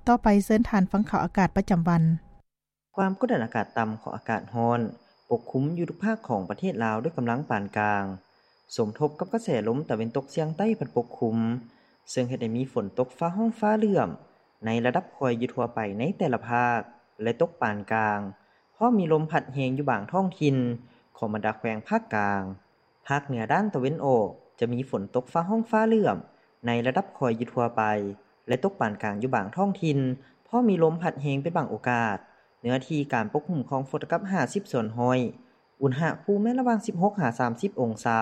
ຕໍ່ໄປເຊີນທ່ານຟັງຂ່າວອາກາດປະຈຳວັນ. ຄວາມກົດດັນອາກາດຕ່ຳຂອງອາກາດຮ້ອນປົກຄຸມຢູ່ທຸກພາກຂອງປະເທດລາວດ້ວຍກຳລັງປານກາງ, ສົມທົບກັບກະແສລົມຕາເວັນຕົກສຽງໃຕ້ພັດປົກຄຸມ, ເຊິ່ງເຮັດໃຫ້ມີຝົນຕົກຟ້າຮ້ອງຟ້າເຫຼື້ອມໃນລະດັບຄ່ອຍຢູ່ທົ່ວໄປໃນແຕ່ລະພາກ ແລະ ຕົກປານກາງ, ພ້ອມມີລົມພັດແຮງຢູ່ບາງທ້ອງຖິ່ນຂອງບັນດາແຂວງພາກກາງ. ພາກເໜືອດ້ານຕາເວັນອອກຈະມີຝົນຕົກຟ້າຮ້ອງຟ້າເຫຼື້ອມໃນລະດັບຄ່ອຍຢູ່ທົ່ວໄປ ແລະ ຕົກປານກາງຢູ່ບາງທ້ອງຖິ່ນ, ພ້ອມມີລົມພັດແຮງເປັນບາງໂອກາດ. ເນື້ອທີ່ການປົກຄຸມຂອງຝົນຕົກກັບຫ້າສິບສ່ວນຮ້ອຍ, ອຸນຫະພູມແມ່ນລະຫວ່າງສິບຫົກຫາສາມສິບອົງສາ.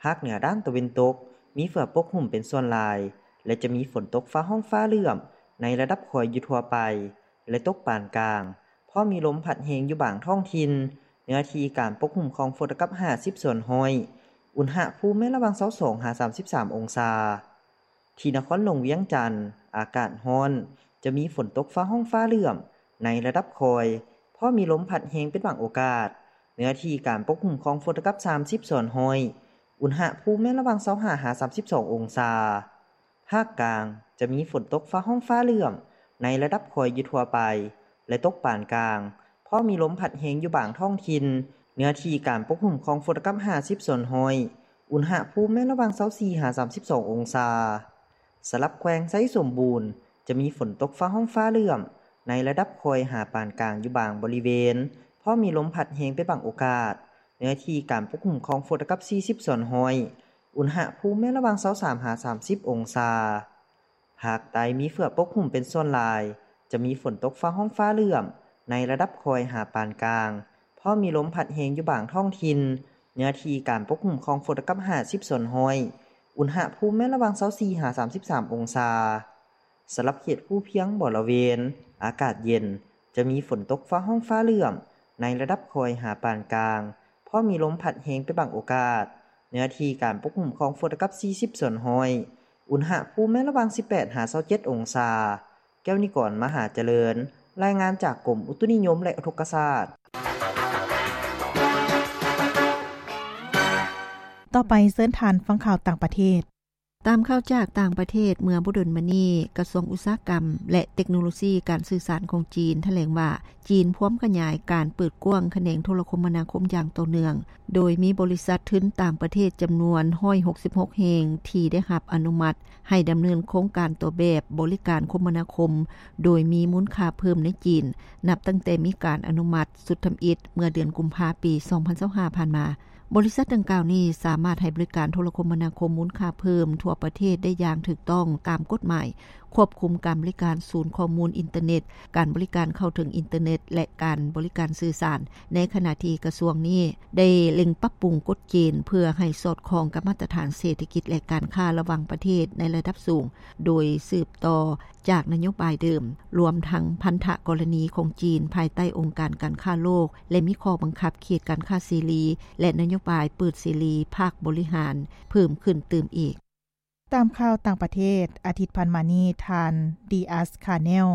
ພາກເໜືອດ້ານຕາເວັນຕົກມີເຝືອປົກຄຸມເປັນສ່ວນຫຼາຍ ແລະ ຈະມີຝົນຕົກຟ້າຮ້ອງຟ້າເຫຼື້ອມໃນລະດັບຄ່ອຍຢູ່ທົ່ວໄປ ແລະ ຕົກປານກາງ, ພ້ອມມີລົມພັດແຮງຢູ່ບາງທ້ອງຖິ່ນ. ເນື້ອທີ່ການປົກຄຸມຂອງຝົນຕົກກັບຫ້າສິບສ່ວນຮ້ອຍ, ອຸນຫະພູມແມ່ນລະຫວ່າງຊາວສອງຫາສາມສິບສາມອົງສາ. ທີ່ນະຄອນຫຼວງວຽງຈັນ, ອາກາດຮ້ອນ, ຈະມີຝົນຕົກຟ້າຮ້ອງຟ້າເຫຼື້ອມໃນລະດັບຄ່ອຍ, ພ້ອມມີລົມພັດແຮງເປັນບາງໂອກາດ. ເນື້ອທີ່ການປົກຄຸມຂອງຝົນຕົກກັບສາມສິບສ່ວນຮ້ອຍ, ອຸນຫະພູມແມ່ນລະຫວ່າງຊາວຫ້າຫາສາມສິບສອງອົງສາ. ພາກກາງຈະມີຝົນຕົກຟ້າຮ້ອງຟ້າເຫຼື້ອມໃນລະດັບຄ່ອຍຢູ່ທົ່ວໄປ ແລະ ຕົກປານກາງ, ພ້ ພໍມີລົມພັດແຮງຢູ່ບາງທ້ອງຖິ່ນ. ເນື້ອທີ່ການປົກຄຸມຂອງຝົນຕົກກັບຫ້າສິບສ່ວນຮ້ອຍ, ອຸນຫະພູມແມ່ນລະຫວ່າງຊາວສີ່ຫາສາມສິບສອງອົງສາ. ສຳລັບແຂວງໄຊສົມບູນ ຈະມີຝົນຕົກຟ້າຮ້ອງຟ້າເຫຼື້ອມ ໃນລະດັບຄ່ອຍຫາປານກາງຢູ່ບາງບໍລິເວນ, ພໍມີລົມພັດແຮງເປັນບາງໂອກາດ. ເນື້ອທີ່ການປົກຄຸມຂອງຝົນຕົກກັບສີ່ສິບສ່ວນຮ້ອຍ, ອຸນຫະພູມແມ່ນລະຫວ່າງຊາວສາມຫາສາມສິບອົງສາ. ພາກໃຕ້ມີເຝືອປົກຄຸມເປັນສ່ວນຫຼາຍ, ຈະມີຝົນຕົກຟ້າຮ້ອງຟ້າເຫຼື້ອມ ໃນລະດັບຄ່ອຍຫາປານກາງ, ພໍມີລົມພັດແຮງຢູ່ບາງທ້ອງຖິ່ນ. ເນື້ອທີ່ການປົກຄຸມຂອງຝົນຕົກກັບຫ້າສິບສ່ວນຮ້ອຍ, ອຸນຫະພູມແມ່ນລະຫວ່າງຊາວສີ່ຫາສາມສິບສາມອົງສາ. ສຳລັບເຂດພູພຽງບໍລະເວນ ອາກາດເຢັນ, ຈະມີຝົນຕົກຟ້າຮ້ອງຟ້າເຫຼື້ອມ ໃນລະດັບຄ່ອຍຫາປານກາງ, ພໍມີລົມພັດແຮງເປັນບາງໂອກາດ. ເນື້ອທີ່ການປົກຄຸມຂອງຝົນຕົກກັບສີ່ສິບສ່ວນຮ້ອຍ, ອຸນຫະພູມແມ່ນລະຫວ່າງສິບແປດຫາຊາວເຈັດອົງສາ. ແກ້ວນິກອນ ມະຫາຈະເລີນ, ລາຍງານຈາກກົມອຸຕຸນິຍົມ ແລະ ອຸທົກກະສາດ. ຕໍ່ໄປເຊີນທ່ານຟັງຂ່າວຕ່າງປະເທດ. ຕາມຂ່າວຈາກຕ່າງປະເທດ, ເມື່ອບໍ່ດົນມານີ້ ກະຊວງອຸດສາຫະກຳ ແລະ ເຕັກໂນໂລຊີການສື່ສານຂອງຈີນ ຖະແຫຼງວ່າ ຈີນພວມຂະຫຍາຍການເປີດກວ້າງຂະແໜງໂທລະຄົມມະນາຄົມຢ່າງຕໍ່ເນື່ອງ, ໂດຍມີບໍລິສັດທຶນຕ່າງປະເທດຈຳນວນຮ້ອຍຫົກສິບຫົກແຫ່ງ ທີ່ໄດ້ຮັບອະນຸມັດໃຫ້ດຳເນີນໂຄງການຕົວແບບບໍລິການຄົມມະນາຄົມ ໂດຍມີມູນຄ່າເພີ່ມໃນຈີນ, ນັບຕັ້ງແຕ່ມີການອະນຸມັດຊຸດທຳອິດເມື່ອເດືອນກຸມພາ ປີສອງພັນຊາວຫ້າ ຜ່ານມາ. ບໍລິສັດດັ່ງກ່າວນີ້ສາມາດໃຫ້ບໍລິການໂທລະຄົມມະນາຄົມມູນຄ່າເພີ່ມທົ່ວປະເທດໄດ້ຢ່າງຖືກຕ້ອງຕາມກົດໝາຍ, ຄວບຄຸມການບໍລິການສູນຂໍ້ມູນອິນເຕີເນັດ, ການບໍລິການເຂົ້າເຖິງອິນເຕີເນັດ ແລະ ການບໍລິການສື່ສານ, ໃນຂະນະທີ່ກະຊວງນີ້ໄດ້ເລັ່ງປັບປຸງກົດເກນເພື່ອໃຫ້ສອດຄ່ອງກັບມາດຕະຖານເສດຖະກິດ ແລະ ການຄ້າລະຫວ່າງປະເທດໃນລະດັບສູງ, ໂດຍສືບຕໍ່ຈາກນະໂຍບາຍເດີມ, ລວມທັງພັນທະກໍລະນີຂອງຈີນພາຍໃຕ້ອົງການການຄ້າໂລກ ແລະ ມີຂໍ້ບັງຄັບເຂດການຄ້າເສລີ ແລະ ນະໂຍບາຍເປີດເສລີພາກບໍລິຫານເພີ່ມຂຶ້ນຕື່ມອີກ. ຕາມຂ່າວຕ່າງປະເທດ, ອາທິດຜ່ານມານີ້ ທ່ານ ດີອາສ ຄາເນລ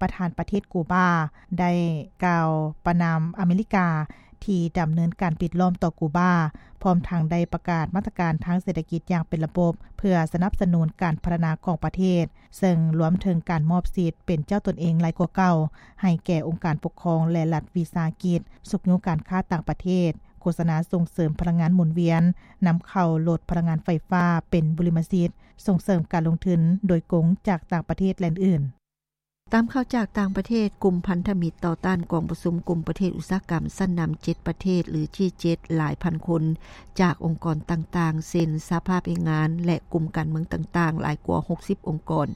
ປະທານປະເທດກູບາ ໄດ້ກ່າວປະນາມອາເມລິກາ ທີ່ດຳເນີນການປິດລ້ອມຕໍ່ກູບາ, ພ້ອມທັງໄດ້ປະກາດມາດຕະການທາງເສດຖະກິດຢ່າງເປັນລະບົບ ເພື່ອສະໜັບສະໜູນການພັດທະນາຂອງປະເທດ, ເຊິ່ງລວມເຖິງການມອບສິດເປັນເຈົ້າຕົນເອງຫຼາຍກວ່າເກົ່າ ໃຫ້ແກ່ອົງການປົກຄອງ ແລະ ລັດວິສາຫະກິດ, ຊຸກຍູ້ການຄ້າຕ່າງປະເທດ, ໂຄສະນາສົ່ງເສີມພະລັງງານໝູນວຽນ, ນຳເຂົ້າລົດພະລັງງານໄຟຟ້າເປັນບຸລິມະສິດ, ສົ່ງເສີມການລົງທຶນໂດຍກົງຈາກຕ່າງປະເທດ ແລະ ອື່ນໆ. ຕາມຂ່າວຈາກຕ່າງປະເທດ, ກຸ່ມພັນທະມິດຕໍ່ຕ້ານກອງປະຊຸມກຸ່ມປະເທດອຸດສາຫະກຳຊັ້ນນຳເຈັດປະເທດ ຫຼື ຈີເຈັດ ຫຼາຍພັນຄົນ ຈາກອົງກອນຕ່າງໆ ເຊັ່ນ ສະຫະພາບແຮງງານ ແລະ ກຸ່ມການເມືອງຕ່າງໆ ຫຼາຍກວ່າຫົກສິບອົງກອນ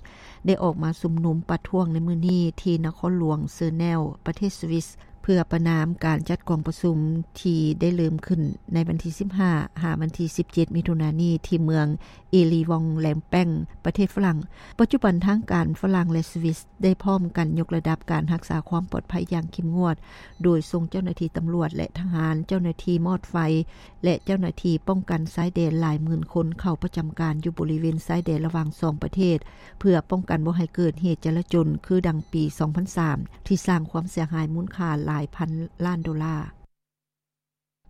ໄດ້ອອກມາຊຸມນຸມປະທ້ວງໃນມື້ນີ້ ທີ່ນະຄອນຫຼວງເຊີແນວ ປະເທດສະວິສ ເພື່ອປະນາມການຈັດກອງປະຊຸມທີ່ໄດ້ເລີ່ມຂຶ້ນໃນວັນທີສິບຫ້າ ຫາວັນທີສິບເຈັດ ມິຖຸນານີ້ ທີ່ເມືອງເອລີວອງແລມແປ້ງ ປະເທດຝຣັ່ງ. ປັດຈຸບັນທາງການຝຣັ່ງ ແລະ ສະວິສ ໄດ້ພ້ອມກັນຍົກລະດັບການຮັກສາຄວາມປອດໄພຢ່າງເຂັ້ມງວດ, ໂດຍສົ່ງເຈົ້າໜ້າທີ່ຕຳຫຼວດ ແລະ ທະຫານ, ເຈົ້າໜ້າທີ່ມອດໄຟ ແລະ ເຈົ້າໜ້າທີ່ປ້ອງກັນຊາຍແດນຫຼາຍໝື່ນຄົນເຂົ້າປະຈຳການຢູ່ບໍລິເວນຊາຍແດນລະຫວ່າງສອງປະເທດ ເພື່ອປ້ອງກັນບໍ່ໃຫ້ເກີດເຫດຈະລາຈົນຄືດັ່ງປີສອງພັນສາມ ທີ່ສ້າງຄວາມເສຍຫາຍມູນຄ່າຫຼາຍພັນລ້ານໂດລາ.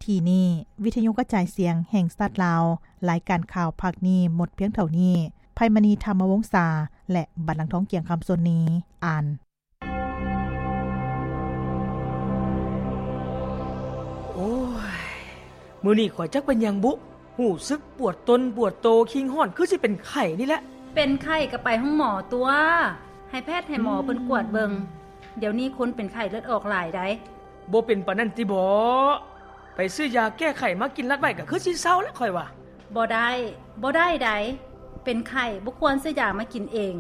ທີ່ນີ້ ວິທະຍຸກະຈາຍສຽງແຫ່ງຊາດລາວ, ລາຍການຂ່າວພາກນີ້ໝົດພຽງເທົ່ານີ້. ໄພມະນີ ທຳມະວົງສາ ແລະ ບັນລັງທອງ ກຽງຄຳ ສ່ວນນີ້ ອ່ານ. ໂອ້ຍ ມື້ນີ້ຂ້ອຍຈັກເປັນຫຍັງບຸ, ຮູ້ສຶກປວດຕົນປວດໂຕ, ຄີງຮ້ອນ, ຄືຊິເປັນໄຂ້ນີ້ແຫຼະ. ເປັນໄຂ້ກໍໄປໂຮງໝໍຕົວະ, ໃຫ້ແພດໃຫ້ໝໍເພິ່ນກວດເບິ່ງ. ດຽວນີ້ຄົນເປັນໄຂ້ເລືອດອອກຫຼາຍໃດ໋. ບໍ່ເປັນປານນັ້ນຕິບໍ? ໄປຊື້ຢາແກ້ໄຂ້ມາກິນລັດໄວ້ກໍຄືຊິເຊົາແຫຼະຂ້ອຍວ່າ. ບໍ່ໄດ້, ບໍ່ໄດ້ໃດ໋. ເປັນໄຂ້ບໍ່ຄວນຊື້ຢາມາກິນເອງ.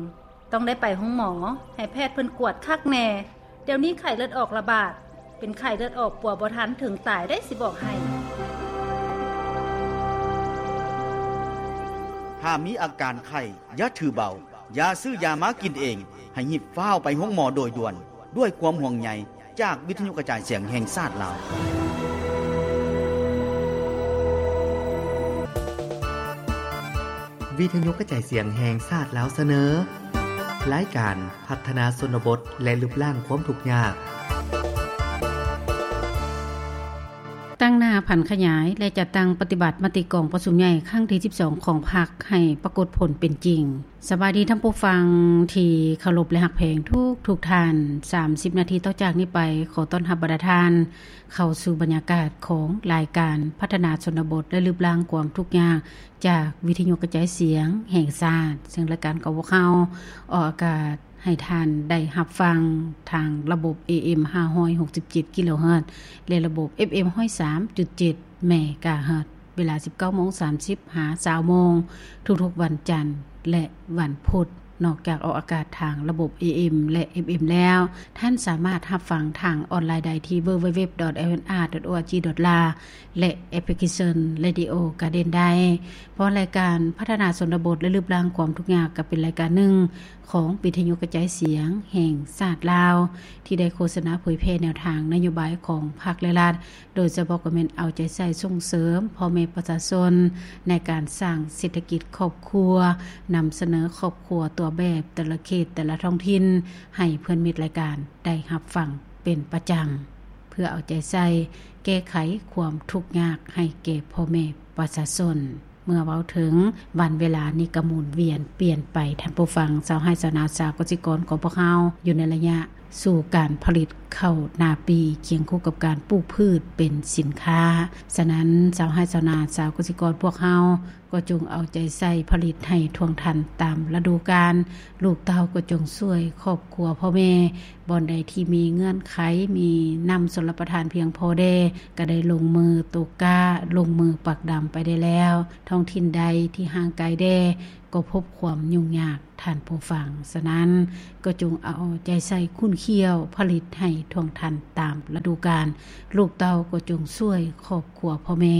ຕ້ອງໄດ້ໄປໂຮງໝໍ, ໃຫ້ແພດເພິ່ນກວດຄັກແນ່. ດຽວນີ້ໄຂ້ເລືອດອອກລະບາດ, ເປັນໄຂ້ເລືອດອອກປົວບໍ່ທັນເຖິງຕາຍໄດ໋ ຊິບອກໃຫ້. ຖ້າມີອາການໄຂ້, ຢ່າຖືເບົາ, ຢ່າຊື້ຢາມາກິນເອງ, ໃຫ້ຮີບຟ້າວໄປໂຮງໝໍໂດຍດ່ວນ. ດ້ວຍຄວາມຫ່ວງໃຍຈາກວິທະຍຸກະຈາຍສຽງແຫ່ງຊາດລາວ. ວິທະຍຸກະຈາຍສຽງແຫ່ງຊາດລາວສະເໜີ ລາຍການພັດທະນາຊົນນະບົດ ແລະ ລຶບລ້າງຄວາມທຸກຍາກ. ຕັ້ງ ໜ້າຜັນຂະຫຍາຍ ແລະ ຈັດຕັ້ງປະຕິບັດມະຕິກອງປະຊຸມໃຫຍ່ຄັ້ງທີສິບສອງຂອງພັກໃຫ້ປາກົດຜົນເປັນຈິງ. ສະບາຍດີທ່ານຜູ້ຟັງທີ່ເຄົາລົບ ແລະ ຮັກແພງທຸກທຸກທ່ານ. ສາມສິບນາທີຕໍ່ຈາກນີ້ໄປ ຂໍຕ້ອນຮັບບັນດາທ່ານເຂົ້າສູ່ບັນຍາກາດຂອງລາຍການພັດທະນາຊົນນະບົດ ແລະ ລຶບລ້າງຄວາມທຸກຍາກ ຈາກວິທະຍຸກະຈາຍສຽງແຫ່ງຊາດ, ເຊິ່ງລາຍການຂອງພວກເຮົາອອກອາກາດ ໃຫ້ທ່ານໄດ້ຮັບຟັງທາງລະບົບ ເອເອັມ ຫ້າຮ້ອຍຫົກສິບເຈັດ ກິໂລເຮີດ ແລະ ລະບົບ ເອັຟເອັມ ຮ້ອຍສາມຈຸດເຈັດ ເມກາເຮີດ ເວລາ ສິບເກົ້າໂມງສາມສິບ ຫາ ຊາວໂມງ ທຸກໆວັນຈັນ ແລະ ວັນພຸດ. ນອກຈາກອອກອາກາດທາງລະບົບ ເອເອັມ ແລະ ເອັຟເອັມ ແລ້ວ, ທ່ານສາມາດຮັບຟັງທາງອອນລາຍໄດ້ທີ່ www.lmr.org.la ແລະ ແອັບພລິເຄຊັນ Radio Garden ໄດ້. ເພາະລາຍການພັດທະນາຊົນນະບົດ ແລະ ລຶບລ້າງຄວາມທຸກຍາກ ກໍເປັນລາຍການໜຶ່ງຂອງວິທະຍຸກະຈາຍສຽງແຫ່ງຊາດລາວ ທີ່ໄດ້ໂຄສະນາເຜີຍແຜ່ແນວທາງນະໂຍບາຍຂອງພັກ ແລະ ລັດ, ໂດຍສະເພາະກໍແມ່ນເອົາໃຈໃສ່ສົ່ງເສີມພໍ່ແມ່ປະຊາຊົນໃນການສ້າງເສດຖະກິດຄອບຄົວ, ນຳສະເໜີຄອບຄົວຕົວແບບແຕ່ລະເຂດ ແຕ່ລະທ້ອງຖິ່ນ ໃຫ້ເພື່ອນມິດລາຍການໄດ້ຮັບຟັງເປັນປະຈຳ ເພື່ອເອົາໃຈໃສ່ແກ້ໄຂຄວາມທຸກຍາກໃຫ້ແກ່ພໍ່ແມ່ປະຊາຊົນ. ເມື່ອເວົ້າເຖິງວັນເວລານີ້ກໍໝູນວຽນປ່ຽນໄປ, ທ່ານຜູ້ຟັງ, ຊາວໄຮ່ຊາວນາ ຊາວກະສິກອນຂອງພວກເຮົາ ຢູ່ໃນໄລຍະສູ່ການຜະລິດເຂົ້ານາປີ ຄຽງຄູ່ກັບການປູກພືດເປັນສິນຄ້າ. ສະນັ້ນ, ຊາວໄຮ່ຊາວນາ ຊາວກະສິກອນພວກເຮົາ ກໍຈົ່ງເອົາໃຈໃສ່ຜະລິດໃຫ້ທ່ວງທັນຕາມລະດູການ, ລູກເຕົ້າກໍຈົ່ງຊ່ວຍຄອບຄົວພໍ່ແມ່, ບ່ອນໃດທີ່ມີເງື່ອນໄຂ ມີນ້ຳຊົນລະປະທານພຽງພໍແດ່ ກໍໄດ້ລົງມືຕົກກ້າ, ລົງມືປັກດຳໄປໄດ້ແລ້ວ. ທ້ອງຖິ່ນໃດທີ່ຫ່າງໄກແດ່ ກໍພົບຄວາມຫຍຸ້ງຍາກ, ທ່ານຜູ້ຟັງ. ສະນັ້ນ, ກໍຈົ່ງເອົາໃຈໃສ່ຂຸ້ນຂ້ຽວຜະລິດໃຫ້ທ່ວງທັນຕາມລະດູການ, ລູກເຕົ້າກໍຈົ່ງຊ່ວຍຄອບຄົວພໍ່ແມ່,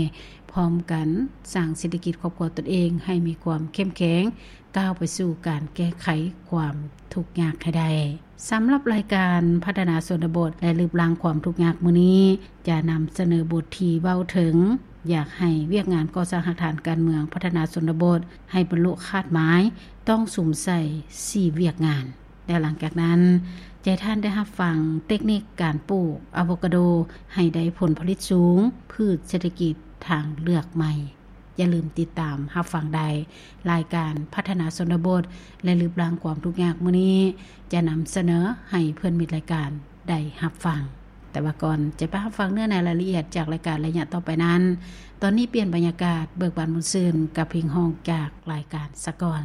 ພ້ອມກັນສ້າງເສດຖະກິດຄອບຄົວຕົນເອງໃຫ້ມີຄວາມເຂັ້ມແຂງ, ກ້າວໄປສູ່ການແກ້ໄຂຄວາມທຸກຍາກໃຫ້ໄດ້. ສຳລັບລາຍການພັດທະນາຊົນນະບົດ ແລະ ລຶບລ້າງຄວາມທຸກຍາກມື້ນີ້ ຈະນຳສະເໜີບົດທີ່ເວົ້າເຖິງ ຢາກໃຫ້ວຽກງານກໍ່ສ້າງຮາກຖານການເມືອງພັດທະນາຊົນນະບົດໃຫ້ບັນລຸຄາດໝາຍ ຕ້ອງສຸມໃສ່ສີ່ວຽກງານ. ແລະ ຫຼັງຈາກນັ້ນ ຈະໃຫ້ທ່ານໄດ້ຮັບຟັງເຕັກນິກການປູກອາໂວກາໂດໃຫ້ໄດ້ຜົນຜະລິດສູງ, ພືດເສດຖະກິດທາງເລືອກໃໝ່. ຢ່າລືມຕິດຕາມຮັບຟັງໄດ້. ລາຍການພັດທະນາຊົນນະບົດ ແລະ ລຶບລ້າງຄວາມທຸກຍາກມື້ນີ້ ຈະນຳສະເໜີໃຫ້ເພື່ອນມິດລາຍການໄດ້ຮັບຟັງ. ແຕ່ວ່າກ່ອນຈະໄປຮັບຟັງເນື້ອໃນລາຍລະອຽດຈາກລາຍການໄລຍະຕໍ່ໄປນັ້ນ, ຕອນນີ້ປ່ຽນບັນຍາກາດ, ເບີກບານມ່ວນຊື່ນກັບເພງຮ້ອງຈາກລາຍການສາກ່ອນ.